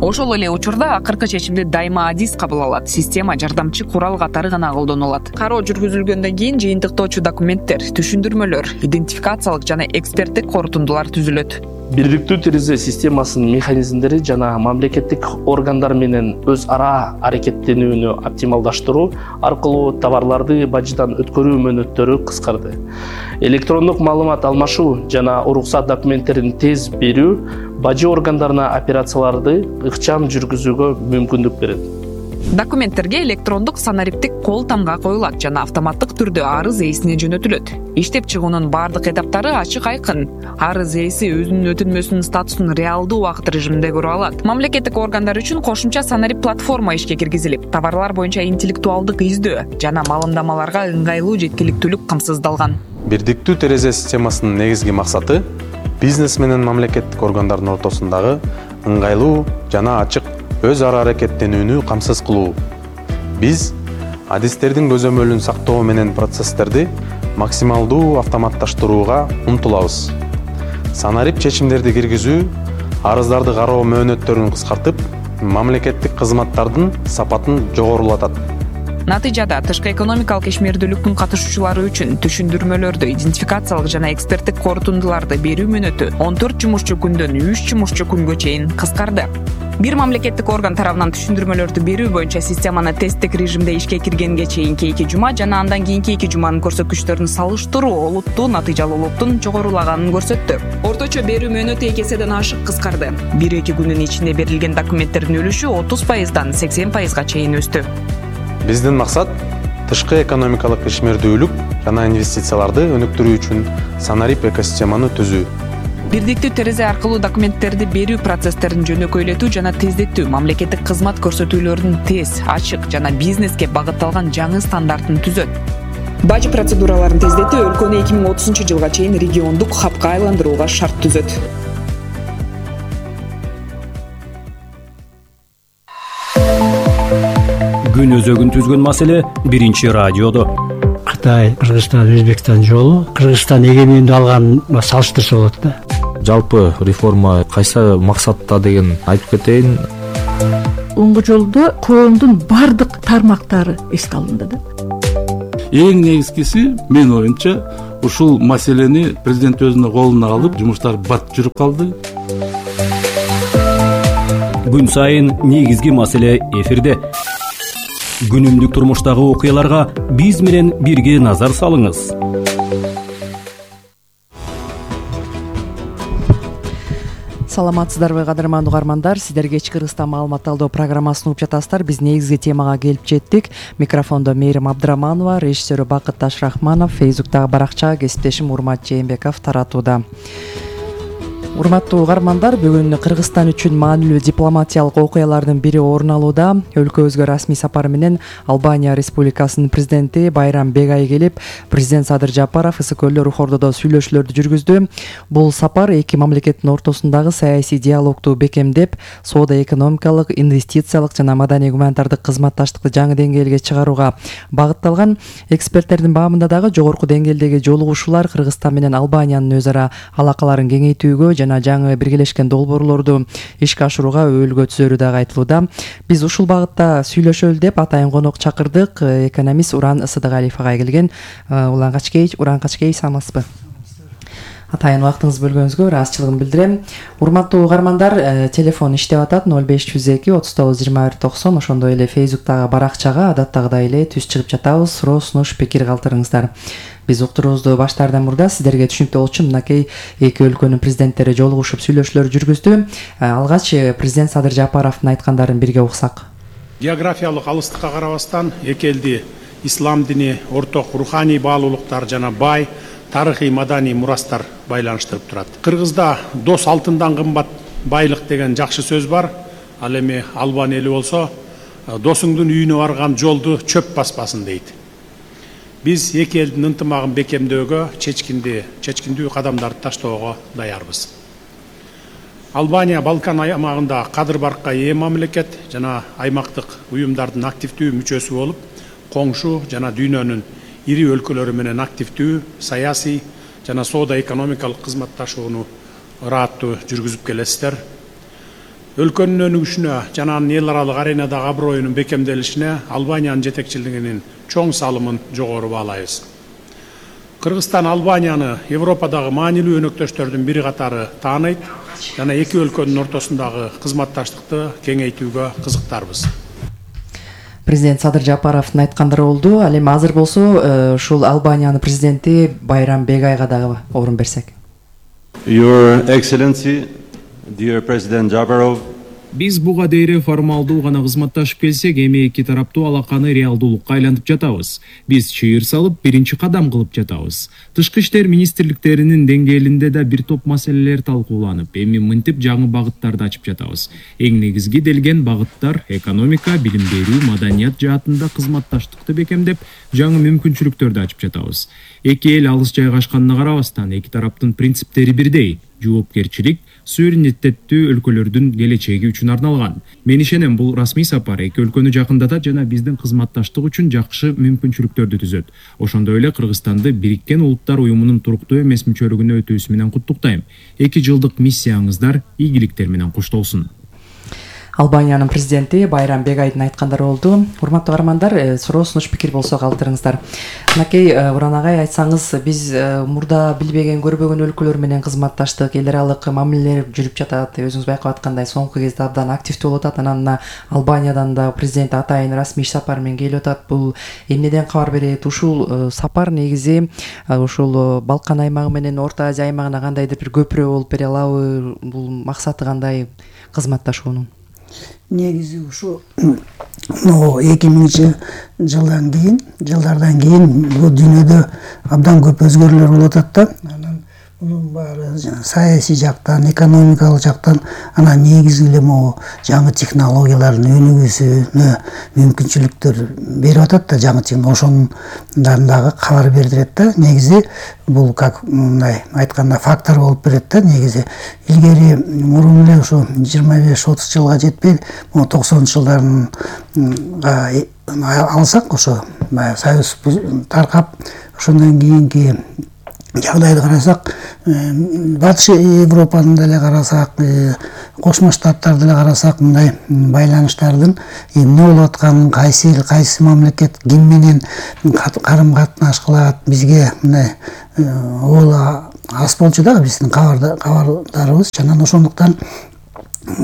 Ошол эле учурда акыркы чечимди дайыма адис кабыл алат. Система жардамчы курал катары гана колдонулат. Кароо жүргүзүлгөндөн кийин жыйынтыктоочу документтер, түшүндүрмөлөр, идентификациялык жана эксперттик корутундулар түзүлөт. Бирдиктүү терезе системасынын механизмдери жана мамлекеттик органдар менен өз ара аракеттенүүнү оптималдаштыруу аркылуу товарларды бажыдан өткөрүү мөөнөттөрү кыскарды. Электрондук маалымат алмашуу жана уруксат документтерин тез берүү бажы органдарына операцияларды ыкчам жүргүзүүгө мүмкүндүк берет. Документтерге электрондук санариптик кол тамга коюлат жана автоматтык түрдө арыз ээсине жөнөтүлөт. Иштеп чыгуунун бардык этаптары ачык айкын. Арыз ээси өзүнүн өтүнмөсүнүн статусун реалдуу убакыт режиминде көрө алат. Мамлекеттик органдар үчүн кошумча санарип платформа ишке киргизилип, товарлар боюнча интеллектуалдык издөө жана маалымдамаларга ыңгайлуу жеткиликтүүлүк камсыздалган. Бирдиктүү терезе системасынын негизги максаты бизнес менен мамлекеттик органдардын ортосундагы ыңгайлуу жана ачык өз ара аракеттенүүнү камсыз кылуу. Биз адистердин көзөмөлүн сактоо менен процесстерди максималдуу автоматташтырууга умтулабыз. Санарип чечимдерди киргизүү арыздарды кароо мөөнөттөрүн кыскартып, мамлекеттик кызматтардын сапатын жогорулатат. Натыйжада тышкы экономикалык ишмердүүлүктүн катышуучулары үчүн түшүндүрмөлөрдү, идентификациялык жана эксперттик корутундуларды берүү мөөнөтү 14 жумушчу күндөн 3 жумушчу күнгө чейин кыскарды. Бир мамлекеттик орган тарабынан түшүндүрмөлөрдү берүү боюнча системаны тесттик режимде ишке киргенге чейинки 2 жума жана андан кийинки 2 жуманын көрсөткүчтөрүн салыштыруу олуттуу натыйжалуулуктун жогорулаганын көрсөттү. Орточо берүү мөөнөтү 2 эседен ашык кыскарды. 1-2 күндүн ичинде берилген документтердин үлүшү 30%дан 80%га чейин өстү. Биздин максат тышкы экономикалык ишмердүүлүк жана инвестицияларды өнүктүрүү үчүн санарип экосистеманы түзүү. Бирдиктүү терезе аркылуу документтерди берүү процесстерин жөнөкөйлөтүү жана тездетүү, мамлекеттик кызмат көрсөтүүлөрүнүн тез, ачык жана бизнеске багытталган жаңы стандартын түзөт. Бажы процедураларын тездетүү өлкөнү 2030 жылга чейин региондук хабка айландырууга шарт түзөт. Күн өзөгүн түзгөн маселе биринчи радиодо. Кытай, Кыргызстан, Өзбекстан жолу Кыргызстан эгемендүү алган салыштырса болот да. Жалпы реформа кайсы максатта деген айтып кетейин. Оңго жолдо коомдун бардык тармактары эске алынды да. Эң негизгиси мен оюмча ушул маселени президент өзүнүн колуна алып, жумуштар бат жүрүп калды. Күн сайын негизги маселе эфирде. Күнүмдүк турмуштагы окуяларга биз менен бирге назар салыңыз. Саламатсыздарбы кадырман угармандар, сиздер кечки Кыргызстан маалымат алуу программасын угуп жатасыздар. Биз негизги темага келип жеттик. Микрофондо Мээрим Абдыраманова, режиссеру Бакыт Ташрахманов, Фейсбуктагы баракча кесиптешим Урмат Жээнбеков таратууда. Урматтуу угармандар, бүгүн Кыргызстан үчүн маанилүү дипломатиялык окуялардын бири орун алууда. Өлкөбүзгө расмий сапар менен Албания Республикасынын президенти Байрам Бегай келип, президент Садыр Жапаров ысык-көлдө Рухордодо сүйлөшүүлөрдү жүргүздү. Бул сапар эки мамлекеттин ортосундагы саясий диалогду бекемдеп, соода-экономикалык, инвестициялык жана маданий-гуманитардык кызматташтыкты жаңы деңгээлге чыгарууга багытталган. Эксперттердин баамында дагы жогорку деңгээлдеги жолугушуулар Кыргызстан менен Албаниянын өз ара алакаларын кеңейтүүгө жана жаңы биргелешкен долбоорлорду ишке ашырууга өбөлгө түзөрү дагы айтылууда. Биз ушул багытта сүйлөшөлү деп атайын конок чакырдык. Экономист Уран Ысыдыгалиев агай келген. Уран Качкеевич, саламатсызбы? Атайын убактыңызды бөлгөнүңүзгө ыраазычылыгымды билдирем. Урматтуу угармандар, телефон иштеп атат 0502 39 21 90. Ошондой эле Фейсбуктагы баракчага адаттагыдай эле түз чыгып жатабыз. Суроо, сунуш, пикир калтырыңыздар. Биз уктуруубузду баштаардан мурда сиздерге түшүнүктүү болчу үчүн мынакей эки өлкөнүн президенттери жолугушуп сүйлөшүүлөр жүргүздү. Алгач президент Садыр Жапаровдун айткандарын бирге уксак. Географиялык алыстыкка карабастан эки элди ислам дини, орток руханий баалуулуктар жана бай тарыхый маданий мурастар байланыштырып турат. Кыргызда дос алтындан кымбат байлык деген жакшы сөз бар. Ал эми Албан эли болсо досуңдун үйүнө барган жолду чөп баспасын дейт. Биз эки элдин ынтымагын бекемдөөгө чечкиндүү кадамдарды таштоого даярбыз. Албания Балкан аймагында кадыр-баркка ээ мамлекет жана аймактык уюмдардын активдүү мүчөсү болуп, коңшу жана дүйнөнүн ири өлкөлөрү менен активдүү саясий жана соода-экономикалык кызматташууну ырааттуу жүргүзүп келесиздер. Өлкөнүн өнүгүшүнө жана анын эл аралык аренадагы аброюнун бекемделишине Албаниянын жетекчилигинин чоң салымын жогору баалайбыз. Кыргызстан Албанияны Европадагы маанилүү өнөктөштөрдүн бири катары тааныйт жана эки өлкөнүн ортосундагы кызматташтыкты кеңейтүүгө кызыктарбыз. Президент Садыр Жапаровдун айткандары болду. Ал эми азыр болсо ушул Албаниянын президенти Байрам Бегайга дагы орун берсек. Your Excellency, dear President Japarov, Биз буга дейре формалдуу гана кызматташып келсек, эми эки тараптуу алаканы реалдуулукка айлантып жатабыз. Биз чыйыр салып, биринчи кадам кылып жатабыз. Тышкы иштер министрликтеринин деңгээлинде да бир топ маселелер талкууланып, эми мынтип жаңы багыттарды ачып жатабыз. Эң негизги делген багыттар экономика, билим берүү, маданият жаатында кызматташтыкты бекемдеп, жаңы мүмкүнчүлүктөрдү ачып жатабыз. Эки эл алыс жайгашканына карабастан, эки тараптын принциптери бирдей: жоопкерчилик, суверенитеттүү өлкөлөрдүн келечеги үчүн арналган. Мен ишенем, бул расмий сапар эки өлкөнү жакындатат жана биздин кызматташтык үчүн жакшы мүмкүнчүлүктөрдү түзөт. Ошондой эле Кыргызстанды Бириккен Улуттар уюмунун туруктуу эмес мүчөлүгүнө өтүүсү менен куттуктайм. 2 жылдык миссияңыздар ийгиликтер менен коштолсун. Албаниянын президенти Байрам Бегайдын айткандары болду. Урматтуу каармандар, суроо сунуш пикир болсо калтырыңыздар. Анакей Уран агай, айтсаңыз, биз мурда билбеген көрбөгөн өлкөлөр менен кызматташтык, эл аралык мамилелер жүрүп жатат. Өзүңүз байкап аткандай, соңку кезде абдан активдүү болуп атат. Анан мына Албаниядан да президент атайын расмий сапар менен келип атат. Бул эмнеден кабар берет? Ушул сапар негизи ушул Балкан аймагы менен Орто Азия аймагына кандайдыр бир көпүрө болуп бере алабы? Бул максаты кандай кызматташуунун? Негизи ушу 2000 жылдардан кийин бул дүйнөдө абдан көп өзгөрүүлөр болуп атат да. Анан мунун баары саясий жактан, экономикалык жактан, анан негизи эле могу жаңы технологиялардын өнүгүүсүнө мүмкүнчүлүктөр берип атат да, жаңы ошонун дагы кабар бердирет да. Негизи бул как мындай айтканда фактор болуп берет да. Негизи илгери мурун эле ушу 25-30 жылга жетпей, 90-жылдарын алсак, ошо Союз таркап, ошондон кийинки жагдайды карасак, Батыш Европаны деле карасак, Кошмо Штаттарды деле карасак, мындай байланыштардын эмне болуп атканын, кайсы эл, кайсы мамлекет ким менен карым катнаш кылат, бизге мындай аз болчу да биздин кабардарыбыз. Анан ошондуктан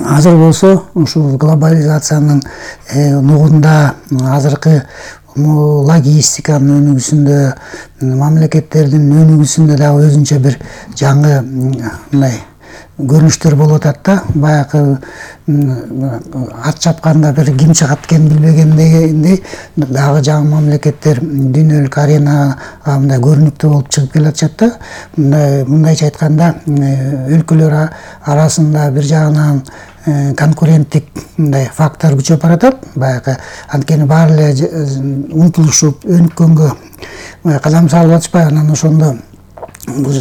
азыр болсо ушул глобализациянын нугунда, азыркы логистиканын өнүгүүсүндө, мамлекеттердин өнүгүүсүндө дагы өзүнчө бир жаңы мындай көрүнүштөр болуп атат да. Баягы ат чапканда бир ким чыгат экен билбегендей дагы жаңы мамлекеттер дүйнөлүк аренага мындай көрүнүктүү болуп чыгып келатышат да. Мындайча айтканда, өлкөлөр арасында бир жагынан конкуренттик мындай фактор күчөп баратат. Баягы анткени баары эле умтулушуп өнүккөнгө кадам салып атышпайбы? Анан ошондо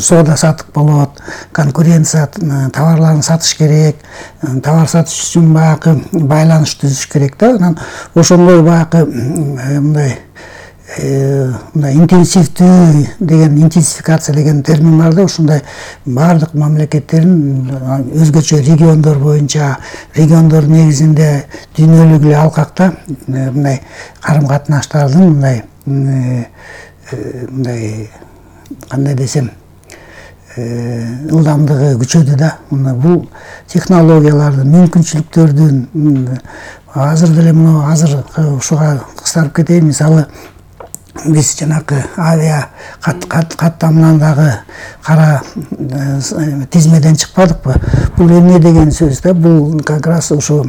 соода сатык болот, конкуренция, товарларын сатыш керек, товар сатыш үчүн баягы байланыш түзүш керек да. Анан ошондой баягы мындай интенсивдүү деген, интенсификация деген термин бар да. Ушундай баардык мамлекеттерин өзгөчө региондор боюнча, региондор негизинде дүйнөлүк эле алкакта мындай карым катнаштардын мындай кандай десем, ылдамдыгы күчөдү да. Бул технологиялардын, мүмкүнчүлүктөрдүн азыр деле азыр ушуга кыстарып кетейин. Мисалы, биз жанакы авиа каттамынан дагы кара тизмеден чыкпадыкпы? Бул эмне деген сөз да? Бул как раз ушу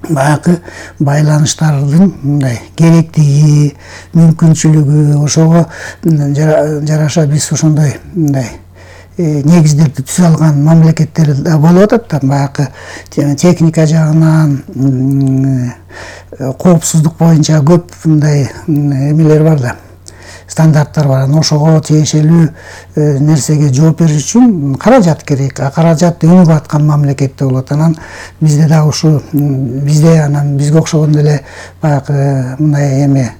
баягы байланыштардын мындай керектиги, мүмкүнчүлүгү, ошого жараша биз ошондой мындай негиздерди түзө алган мамлекеттер болуп атат да. Баягы техника жагынан, коопсуздук боюнча көп мындай эмелер бар да, стандарттар бар. Ошого тиешелүү нерсеге жооп бериш үчүн каражат керек. Каражат өнүгүп аткан мамлекетте болот. Анан бизде дагы ушу бизге окшогон эле баягы мындай эме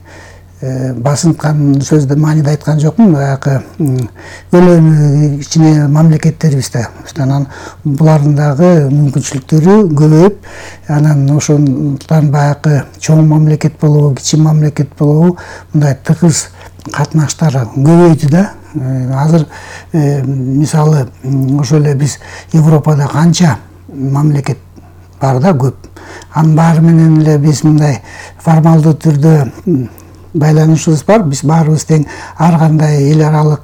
басынткан сөздү мааниде айткан жокмун. Баягы өлөнү кичине мамлекеттерибизде. Анан булардын дагы мүмкүнчүлүктөрү көбөйүп, анан ошондуктан баягы чоң мамлекет болобу, кичи мамлекет болобу, мындай тыгыз катнаштар көбөйдү да. Азыр мисалы ошо эле биз Европада канча мамлекет бар да, көп. Анын баары менен эле биз мындай формалдуу түрдө байланышыбыз бар. Биз баарыбыз тең ар кандай эл аралык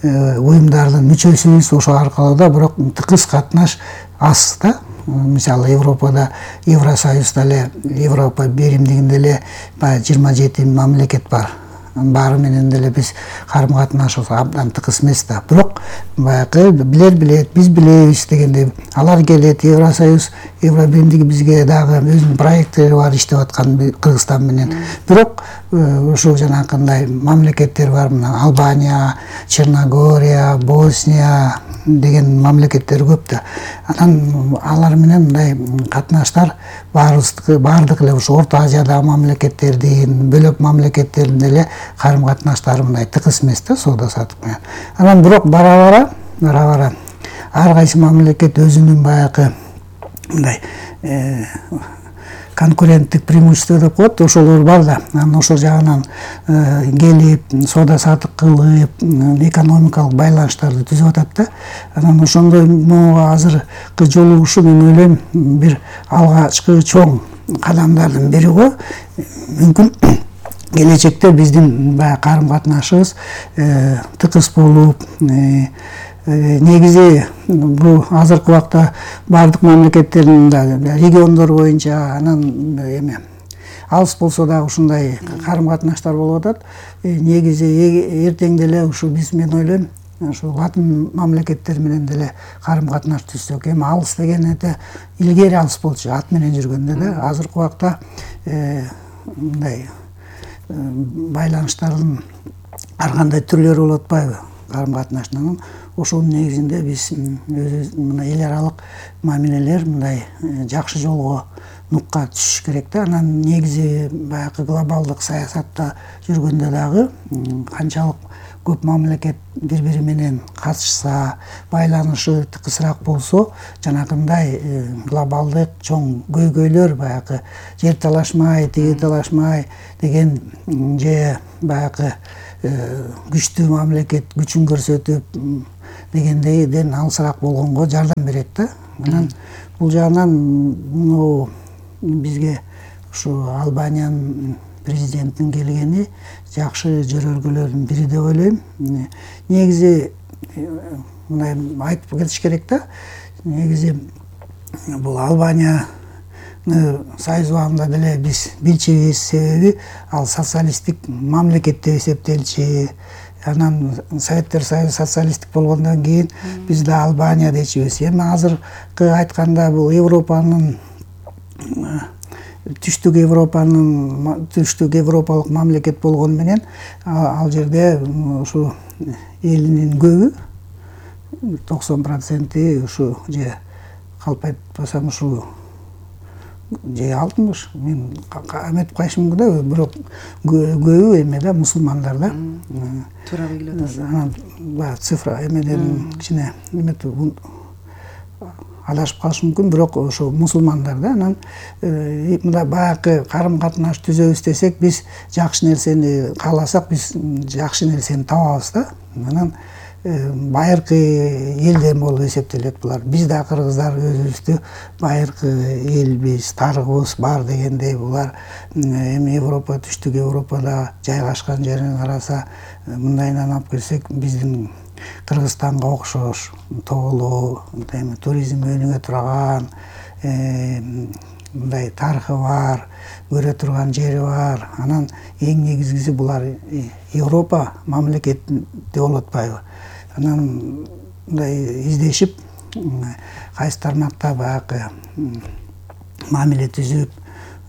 уюмдардын мүчөсүбүз. Ошо аркылуу да бирок тыгыз катнаш аз да. Мисалы Европада, Евросоюзда эле, Европа биримдигинде эле 27 мамлекет бар. Баары менен деле биз карым катнашыбыз абдан тыгыз эмес да. Бирок баягы билет, биз билебиз дегендей, алар келет, Евросоюз, Евробиримдиги бизге дагы өзүнүн проекттери бар, иштеп аткан Кыргызстан менен. Бирок ушул жанакындай мамлекеттер бар, мына Албания, Черногория, Босния деген мамлекеттер көп да. Анан алар менен мындай катнаштар баардык эле ушу Орто Азиядагы мамлекеттердин, бөлөк мамлекеттердин эле карым катнаштары мындай тыгыз эмес да, соода сатык менен. Анан бирок бара бара ар кайсы мамлекет өзүнүн баягы мындай конкуренттик преимущество деп коет, ошолор бар да. Анан ошол жагынан келип, соода саттык кылып, экономикалык байланыштарды түзүп атат да. Анан ошондой могу азыркы жолугушуу мен ойлойм бир алгачкы чоң кадамдардын бири го. Мүмкүн келечекте биздин баягы карым катнашыбыз тыкыз болуп, негизи бул азыркы убакта бардык мамлекеттердин региондор боюнча анан эме алыс болсо дагы ушундай карым катнаштар болуп атат. Негизи эртең деле ушу мен ойлойм ушу латын мамлекеттери менен деле карым катнаш түзсөк. Эми алыс деген илгери алыс болчу ат менен жүргөндө да. Азыркы убакта мындай байланыштардын ар кандай түрлөрү болуп атпайбы карым катнаштын. Ошонун негизинде биз өзүбүз мына эл аралык мамилелер мындай жакшы жолго нукка түшүш керек да. Анан негизи баягы глобалдык саясатта жүргөндө дагы канчалык көп мамлекет бири-бири менен катышса, байланышы тыкысыраак болсо, жанагындай глобалдык чоң көйгөйлөр баягы жер талашмай, тиги талашмай деген же баягы күчтүү мамлекет күчүн көрсөтүп дегендейден алысыраак болгонго жардам берет да. Анан бул жагынан бизге ушу Албаниянын президенттин келгени жакшы жөрөлгөлөрдүн бири деп ойлойм. Негизи мындай айтып кетиш керек да. Негизи бул Албания Союз убагында деле биз билчүбүз, себеби ал социалисттик мамлекет деп эсептелчү. Анан Советтер Союзу социалисттик болгондон кийин биз да Албания дечүбүз. Эми азыркы айтканда бул Европанын түштүк европалык мамлекет болгону менен ал жерде ушу элинин көбү 90% ушу же калп айтпасам ушу же 60 мен эметип калышым мүмкүн да, бирок көбү эме да мусулмандар да. Туура билип атасыз. Анан баягы цифра эмеден кичине эметип адашып калышы мүмкүн, бирок ошо мусулмандар да. Анан мындай баягы карым катнаш түзөбүз десек, биз жакшы нерсени кааласак, биз жакшы нерсени табабыз да. Анан байыркы элден болуп эсептелет булар. Биз да кыргыздар өзүбүздү байыркы элбиз, тарыгыбыз бар дегендей. Булар эми Европа, түштүк Европада жайгашкан жерин караса, мындайынан алып келсек, биздин Кыргызстанга окшош тоолуу, туризм өнүгө турган, мындай тарыхы бар, көрө турган жери бар. Анан эң негизгиси булар Европа мамлекетинде болуп атпайбы. Анан мындай издешип, кайсы тармакта баягы мамиле түзүп,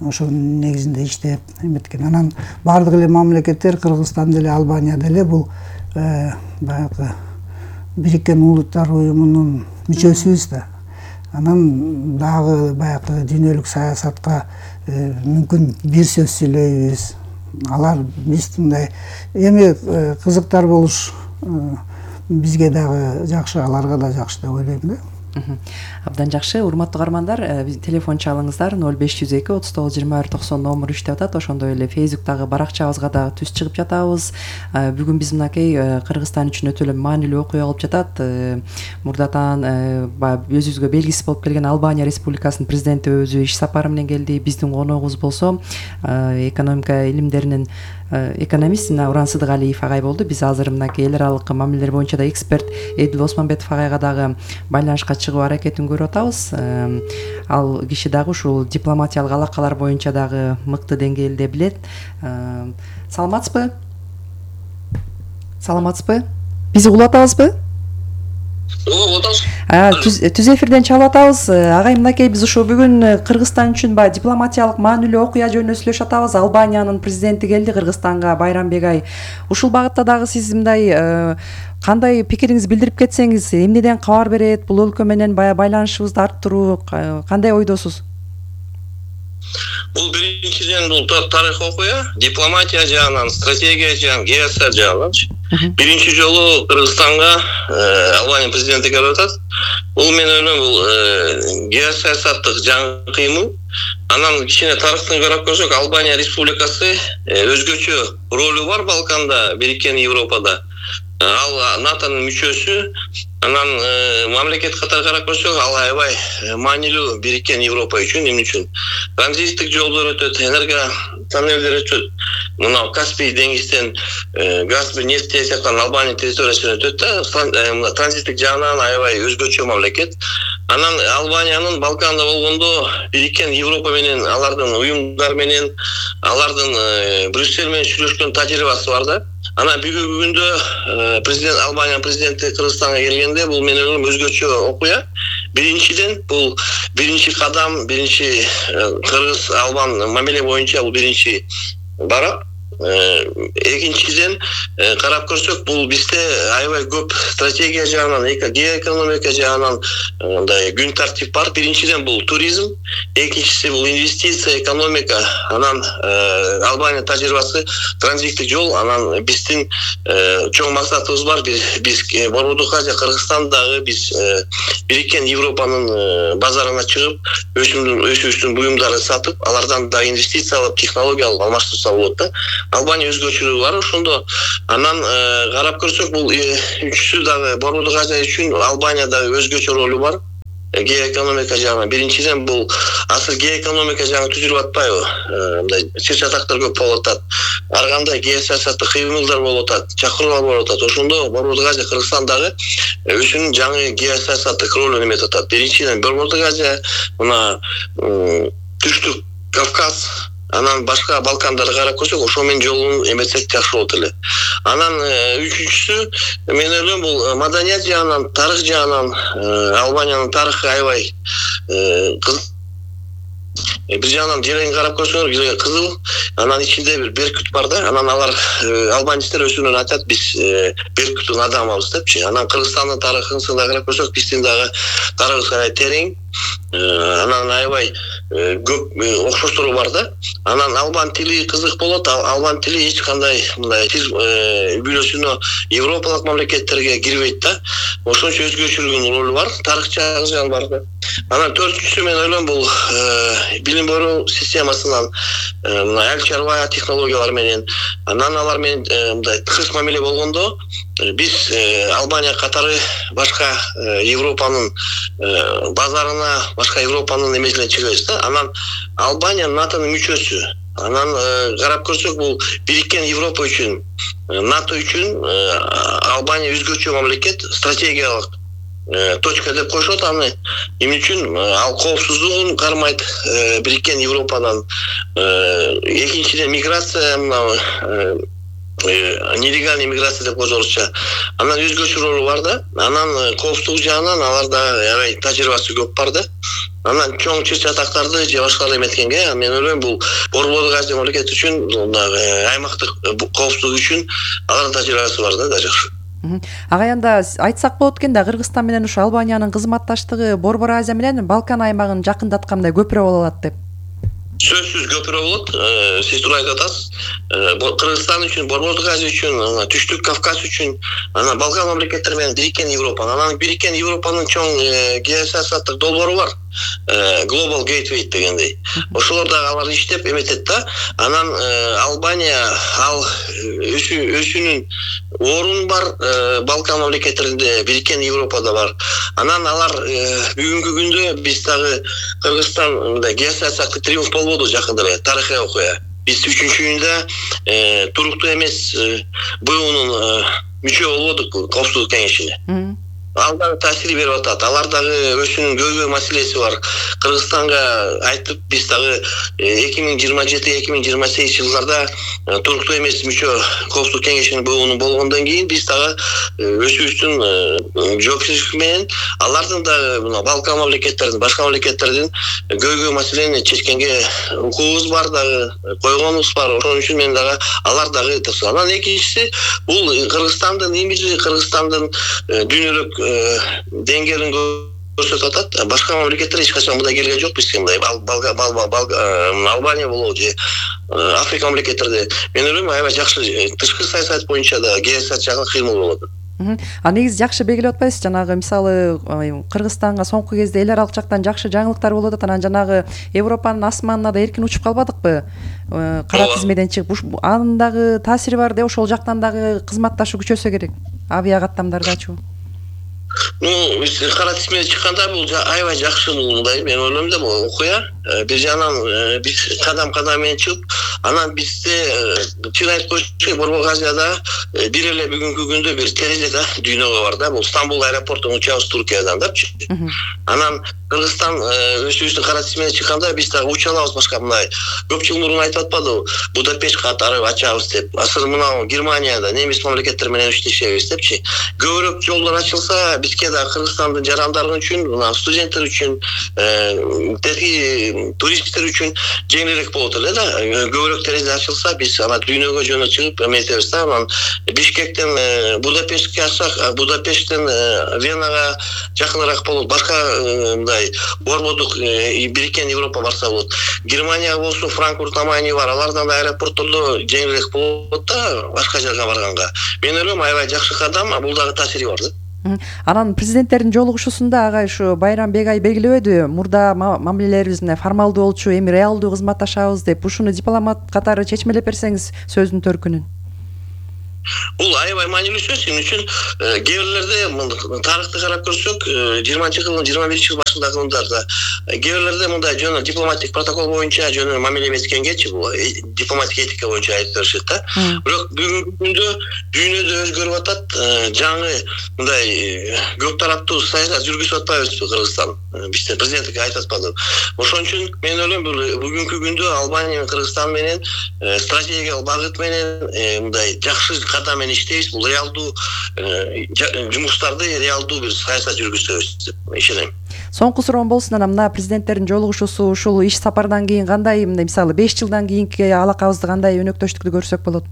ошонун негизинде иштеп эметкен. Анан бардык эле мамлекеттер, Кыргызстан деле, Албания деле бул баягы Бириккен Улуттар уюмунун мүчөсүбүз да. Анан дагы баягы дүйнөлүк саясатка мүмкүн бир сөз сүйлөйбүз. Алар биз мындай эми кызыктар болуш бизге дагы жакшы, аларга да жакшы деп ойлойм да. Абдан жакшы. Урматтуу каармандар, телефон чалыңыздар 0502 39 21 90 номер иштеп атат. Ошондой эле Facebook'тагы баракчабызга дагы түз чыгып жатабыз. Бүгүн биз мынакей Кыргызстан үчүн өтө эле маанилүү окуя болуп жатат. Мурдатан өзүбүзгө белгисиз болуп келген Албания Республикасынын президенти өзү иш сапары менен келди. Биздин коногубуз болсо экономика илимдеринин экономист Уран Сыдыгалиев агай болду. Биз азыр мынакей эл аралык мамилелер боюнча да эксперт Эдил Осмонбетов агайга дагы байланышка чыгуу аракетин көрүп атабыз. Ал киши дагы ушул дипломатиялык алакалар боюнча дагы мыкты деңгээлде билет. Саламатсызбы? Бизди угуп атабызбы? Түз эфирден чалып атабыз. Агай, мынакей биз ушу бүгүн Кыргызстан үчүн дипломатиялык маанилүү окуя жөнүндө сүйлөшүп атабыз. Албаниянын президенти келди Кыргызстанга, Байрамбек ай. Ушул багытта дагы сиз мындай кандай пикириңизди билдирип кетсеңиз, эмнеден кабар берет, бул өлкө менен байланышыбызды арттыруу кандай ойдосуз? Бул биринчиден бул тарых окуя, дипломатия жагынан, стратегия жагынан, геосаясат жагынан Биринчи жолу Кыргызстанга Албания президенти келип атат. Бул мен ойлойм, бул геосаясаттык жаңы кыймыл. Анан кичине тарыхтан карап көрсөк, Албания республикасы өзгөчө ролу бар Балканда, Бириккен Европада. Ал НАТОнун мүчөсү. Анан мамлекет катары карап көрсөк, ал аябай маанилүү Бириккен Европа үчүн, эмне үчүн? Транзиттик жолдор өтөт, энергия тоннелдер өтөт. Мына Каспий деңизден газ, нефть тесиктен Албания территориясына өтөт да, транзиттик жагынан аябай өзгөчө мамлекет. Анан Албаниянын Балканда болгондо Бириккен Европа менен, алардын уюмдар менен, алардын Брюссель менен сүйлөшкөн тажрыйбасы бар да. Анан бүгүнкү күндө президент Албания президенти Кыргызстанга келгенде, бул мен ойлойм өзгөчө окуя. Биринчиден бул биринчи кадам, биринчи кыргыз-албан мамиле боюнча бул биринчи барак. Экинчиден карап көрсөк, бул бизде аябай көп стратегия жагынан, геоэкономика жагынан мындай күн тартип бар. Биринчиден бул туризм, экинчиси бул инвестиция, экономика. Анан Албания тажрыйбасы транзиттик жол, анан биздин чоң максатыбыз бар. Биз Борбордук Азия, Кыргызстандагы биз Бириккен Европанын базарына чыгып, өсүүбүздүн буюмдарын сатып, алардан да инвестиция алып, технология алып алмаштырса болот да. Албания өзгөчөлүгү бар ошондо. Анан карап көрсөк, бул үчүсү дагы Борбордук Азия үчүн Албания дагы өзгөчө ролу бар. Геоэкономика жагынан биринчиден бул азыр геоэкономика жагы түзүлүп атпайбы? Мындай чыр-чатактар көп болуп атат. Ар кандай геосаясаттык кыймылдар болуп атат, чакыруулар болуп атат. Ошондо Борбордук Азия, Кыргызстан дагы өзүнүн жаңы геосаясаттык ролун эметип атат. Биринчиден Борбордук Азия, мына Түштүк Кавказ, анан башка Балкандарды карап көрсөк, ошо менен жолун эметсек жакшы болот эле. Анан үчүнчүсү, мен ойлойм, бул маданият жагынан, тарых жагынан Албаниянын тарыхы аябай бир жагынан жерин карап көрсөңөр, кызыл, анан ичинде бир беркут бар да. Анан алар албанецтер өзүнөн айтат, биз беркуттун адамыбыз депчи. Анан Кыргызстандын тарыхын карап көрсөк, биздин дагы тарыхыбыз аябай терең. Анан аябай көп окшоштугу бар да. Анан албан тили кызык болот. Албан тили эч кандай мындай тил үйлөсүнө европалык мамлекеттерге кирбейт да. Ошончо өзгөчөлүгүнүн ролу бар, тарых жагы бар да. Анан төртүнчүсү, мен ойлойм, бул билим берүү системасынан мына эл чарба технологиялар менен, анан алар менен мындай тыгыз мамиле болгондо, биз Албания катары башка Европанын базарына, башка Европанын эмесине чыгабыз да. Анан Албания НАТОнун мүчөсү. Анан карап көрсөк, бул Бириккен Европа үчүн, НАТО үчүн Албания өзгөчө мамлекет, стратегиялык точка деп коюшат аны. Эмне үчүн? Ал коопсуздугун кармайт Бириккен Европадан. Экинчиден миграция, нелегальный миграция деп коет орусча. Анан өзгөчө ролу бар да. Анан коопсуздук жагынан аларда аябай тажрыйбасы көп бар да. Анан чоң чыр-чатактарды же башкалар эметкенге, мен ойлойм, бул Борбордук Азия мамлекети үчүн, аймактык коопсуздук үчүн алардын тажрыйбасы бар да жакшы. Агаянда айтсак болот экен да, Кыргызстан менен ушу Албаниянын кызматташтыгы Борбор Азия менен Балкан аймагын жакындаткандай көпүрө боло алат деп. Сөзсүз көпүрө болот. Сиз туура айтып атасыз. Кыргызстан үчүн, Борбордук Азия үчүн, Түштүк Кавказ үчүн, анан Балкан мамлекеттери менен Бириккен Европа. Анан Бириккен Европанын чоң геосаясаттык долбоору бар. Global Gateway дегендей. Ошолор дагы алар иштеп эметет да. Анан Албания ал өзүнүн орун бар Балкан мамлекеттеринде, Бириккен Европада бар. Анан алар бүгүнкү күндө биз дагы Кыргызстан мындай геосаясаттык триумф болбоду жакында эле, тарыхый окуя. Биз 3-июнда туруктуу эмес БУнун мүчө болбодук Коопсуздук кеңешине. Ал дагы таасир берип атат. Алар дагы өзүнүн көйгөй маселеси бар. Кыргызстанга айтып, биз дагы 2027-2028 жылдарда туруктуу эмес мүчө Коопсуздук кеңешинин БУнун болгондон кийин биз дагы өзүбүздүн жоопкерчилик менен алардын дагы мына Балкан мамлекеттеринин, башка мамлекеттердин көйгөй маселени чечкенге укугубуз бар дагы, койгонубуз бар. Ошон үчүн мен дагы алар дагы тырса. Анан экинчиси, бул Кыргызстандын имиджи, Кыргызстандын дүйнөлүк деңгээлин көрсөтүп атат. Башка мамлекеттер эч качан мындай келген жок бизге мындай. Албания болобу же Африка мамлекеттерде. Мен ойлойм аябай жакшы тышкы саясат боюнча да геосаясат жагынан кыймыл болот. А негизи жакшы белгилеп атпайсыз, жанагы мисалы Кыргызстанга соңку кезде эл аралык жактан жакшы жаңылыктар болуп атат. Анан жанагы Европанын асманына да эркин учуп калбадыкпы? Кара тизмеден чыгып, анын дагы таасири бар деп ошол жактан дагы кызматташу күчөсө керек. Авиа каттамдардачы. Биз кара тизмеге чыкканда бул аябай жакшы мындай. Мен ойлойм да бул окуя. Бир жагынан биз кадам менен чыгып, анан бизде чын айтып коюш Борбор Азияда бир эле бүгүнкү күндө бир терезе да дүйнөгө бар да. Бул Стамбул аэропортунун учабыз Туркиядан дачы. Анан Кыргызстан өзүбүздүн кара тизмеге чыкканда биз дагы уча алабыз башка мындай. Көп жыл мурун айтып атпадыбы? Будапешт катары ачабыз деп. Азыр мына Германияда немис мамлекеттер менен иштешебиз депчи. Көбүрөөк жолдор ачылса, бизге да Кыргызстандын жарандары үчүн, мына студенттер үчүн, туристтер үчүн жеңилирээк болот эле да. Көбүрөөк терезе ачылса, биз ана дүйнөгө жөнө чыгып эметебиз да. Анан Бишкектен Будапештке ачсак, Будапешттен Венага жакыныраак болот. Башка мындай борбордук бириккен Европа барса болот. Германия болсо Франкфурт Амайни бар. Алардан да аэропорттордо жеңилирээк болот да башка жерге барганга. Мен ойлойм аябай жакшы кадам, бул дагы таасири бар да. Анан президенттердин жолугушуусунда ага ушу Байрам Бегай белгилебеди, мурда мамилелерибиз фармалдуу болчу, эми реалдуу кызматташабыз деп. Ушуну дипломат катары чечмелеп берсеңиз сөздүн төркүнүн. Бул аябай маанилүү сөз. Сен үчүн кээ бирлерде тарыхты карап көрсөк, 20-жылдын 21-жыл башындагы жылдарда кээ бирлерде мындай жөн дипломатик протокол боюнча жөн мамиле эметкенгечи, бул дипломатик этика боюнча айтып беришет да. Бирок бүгүнкү күндө дүйнөдө өзгөрүп атат. Жаңы мындай көп тараптуу саясат жүргүзүп атпайбызбы Кыргызстан? Бизде президентке айтып атпады. Ошон үчүн мен ойлойм бүгүнкү күндө Албания менен Кыргызстан менен стратегиялык багыт менен мындай жакшы кадам менен иштейбиз. Бул реалдуу жумуштарды реалдуу бир саясат жүргүзөбүз деп ишенем. Соңку суроом болсун, анан мына президенттердин жолугушуусу ушул иш сапардан кийин кандай, мисалы 5 жылдан кийинки алакабызды кандай өнөктөштүктү көрсөк болот?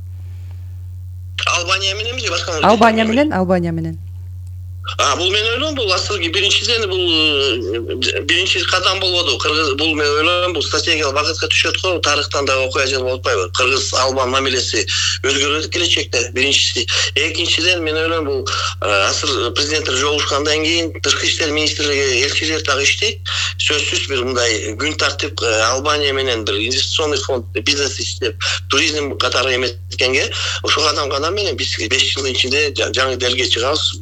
Албания мененби же башка? Албания менен. Бул мен ойлойм, бул азыркы биринчиден бул биринчи кадам болбоду. Бул мен ойлойм, бул стратегиялык багытка түшөт го. Тарыхтан да окуя жыл болуп атпайбы? Кыргыз-Албан мамилеси өзгөрөт келечекте. Биринчиси. Экинчиден мен ойлойм, бул азыр президенттер жолугушкандан кийин тышкы иштер министрлиги элчилер дагы иштейт. Сөзсүз бир мындай күн тартип Албания менен бир инвестиционный фонд, бизнес иштеп, туризм катары эметкенге, ошол кадам менен биз 5 жылдын ичинде жаңы делге чыгабыз.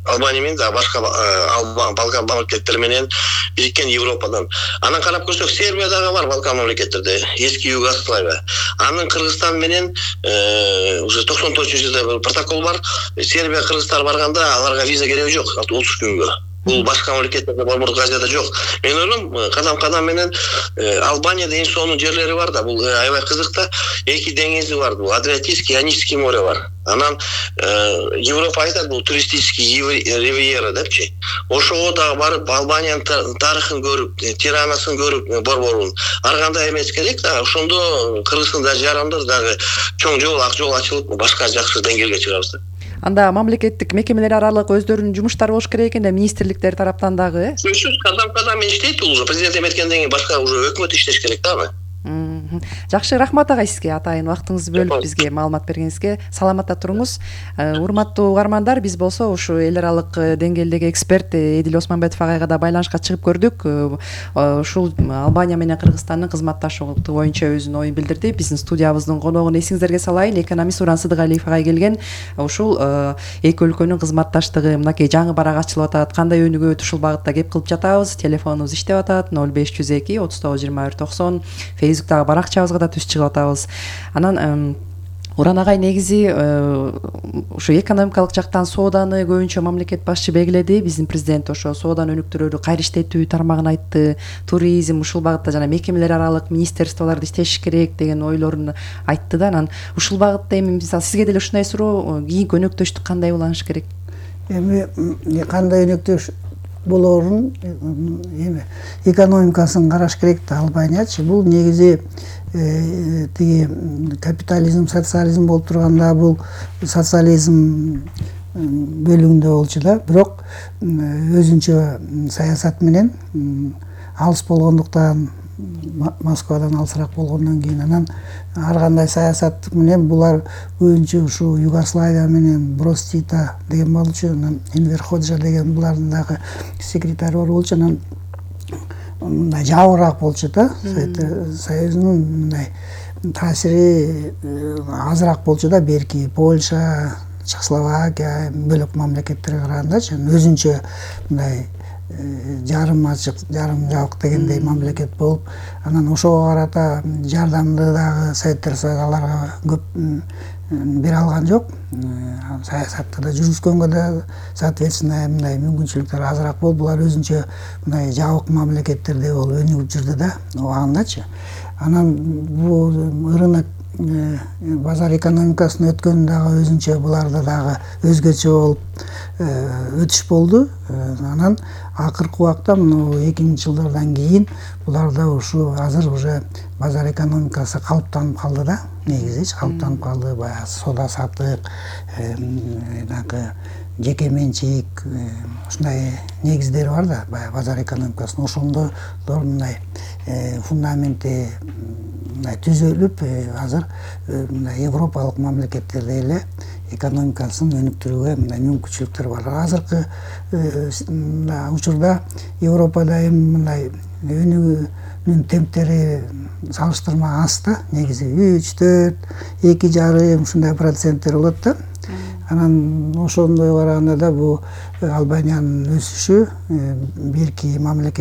Албания менен да башка Балкан мамлекеттери менен бириккен Европадан. Анан карап көрсөк, Сербия дагы бар Балкан мамлекеттерде, эски Югославия. Анын Кыргызстан менен уже 94-жылда протокол бар. Сербия кыргыздар барганда аларга виза кереги жок 30 күнгө. Бул башка мамлекеттерде Борбор Азияда жок. Мен ойлойм, кадам менен Албанияда эң сонун жерлери бар да. Бул аябай кызык да. Эки деңизи бар. Бул Адриатический, Ионический море бар. Анан Европа айтат, бул туристический ривьера депчи. Ошого дагы барып Албаниянын тарыхын көрүп, Тиранасын көрүп, борборун ар кандай эмес керек да. Ошондо Кыргыздын да жарандар дагы чоң жол, ак жол ачылып, башка жакшы деңгээлге чыгабыз да. Анда мамлекеттик мекемелер аралык өздөрүнүн жумуштары болуш керек экен да, министрликтер тараптан дагы. Сөзсүз кадам иштейт, бул уже президент эметкенден кийин башка уже өкмөт иштеш керек да. Жакшы, рахмат ага сизге, атайын убактыңызды бөлүп бизге маалымат бергениңизге. Саламатта туруңуз. Урматтуу угармандар, биз болсо ушу эл аралык деңгээлдеги эксперт Эдил Осмонбетов агайга да байланышка чыгып көрдүк. Ушул Албания менен Кыргызстандын кызматташуу боюнча өзүнүн оюн билдирди. Биздин студиябыздын коногун эсиңиздерге салайын, экономист Уран Сыдыгалиев агай келген. Ушул эки өлкөнүн кызматташтыгы мынакей жаңы барак ачылып атат, кандай өнүгөт, ушул багытта кеп кылып жатабыз. Телефонубуз иштеп атат 0502 39 21 90. Фейсбуктагы баракчабызга да түз чыгып атабыз. Анан Уран агай негизи ушу экономикалык жактан сооданы көбүнчө мамлекет башчы белгиледи. Биздин президент ошо сооданы өнүктүрүүнү кайра иштетүү тармагын айтты. Туризм ушул багытта жана мекемелер аралык министерстволорду иштеш керек деген ойлорун айтты да. Анан ушул багытта эми мисалы сизге деле ушундай суроо, кийинки өнөктөштүк кандай уланыш керек? Эми кандай өнөктөш болоорун эми экономикасын караш керек да. Албаниячы бул негизи тиги капитализм, социализм болуп турганда, бул социализм бөлүгүндө болчу да, бирок өзүнчө саясат менен алыс болгондуктан, Москвадан алысыраак болгондон кийин анан ар кандай саясат менен булар көбүнчө ушу Югославия менен Бростита деген болчу, анан Энвер Ходжа деген булардын дагы секретары бар болчу, анан мындай жабырыраак болчу да, Совет Союзунун мындай таасири азыраак болчу да, берки Польша, Чехословакия бөлөк мамлекеттерге карагандачы, өзүнчө мындай жарым ачык, жарым жабык дегендей мамлекет болуп, анан ошого карата жардамды дагы Советтер Союзу аларга көп бере алган жок. Саясатты да жүргүзгөнгө да соответственно мындай мүмкүнчүлүктөр азыраак болуп, булар өзүнчө мындай жабык мамлекеттерде болуп өнүгүп жүрдү да, убагындачы. Анан бул рынок базар экономикасына өткөн дагы өзүнчө буларда дагы өзгөчө болуп өтүш болду. Анан акыркы убакта мына 2000-жылдардан кийин буларда ушу азыр уже базар экономикасы калыптанып калды да, негизичи калыптанып калды. Баягы соода саттык, жеке менчик, ушундай негиздери бар да баягы базар экономикасынын. Ошондор мындай фундаменти мындай түзүлүп, азыр мындай европалык мамлекеттерде эле экономикасын өнүктүрүүгө мындай мүмкүнчүлүктөр бар. Азыркы учурда Европада эми мындай өнүгүүнүн темптери салыштырма аз да, негизи 3-4, 2,5 ушундай проценттер болот да. Анан ошондой караганда да бул Албаниянын өсүшү берки мамлекет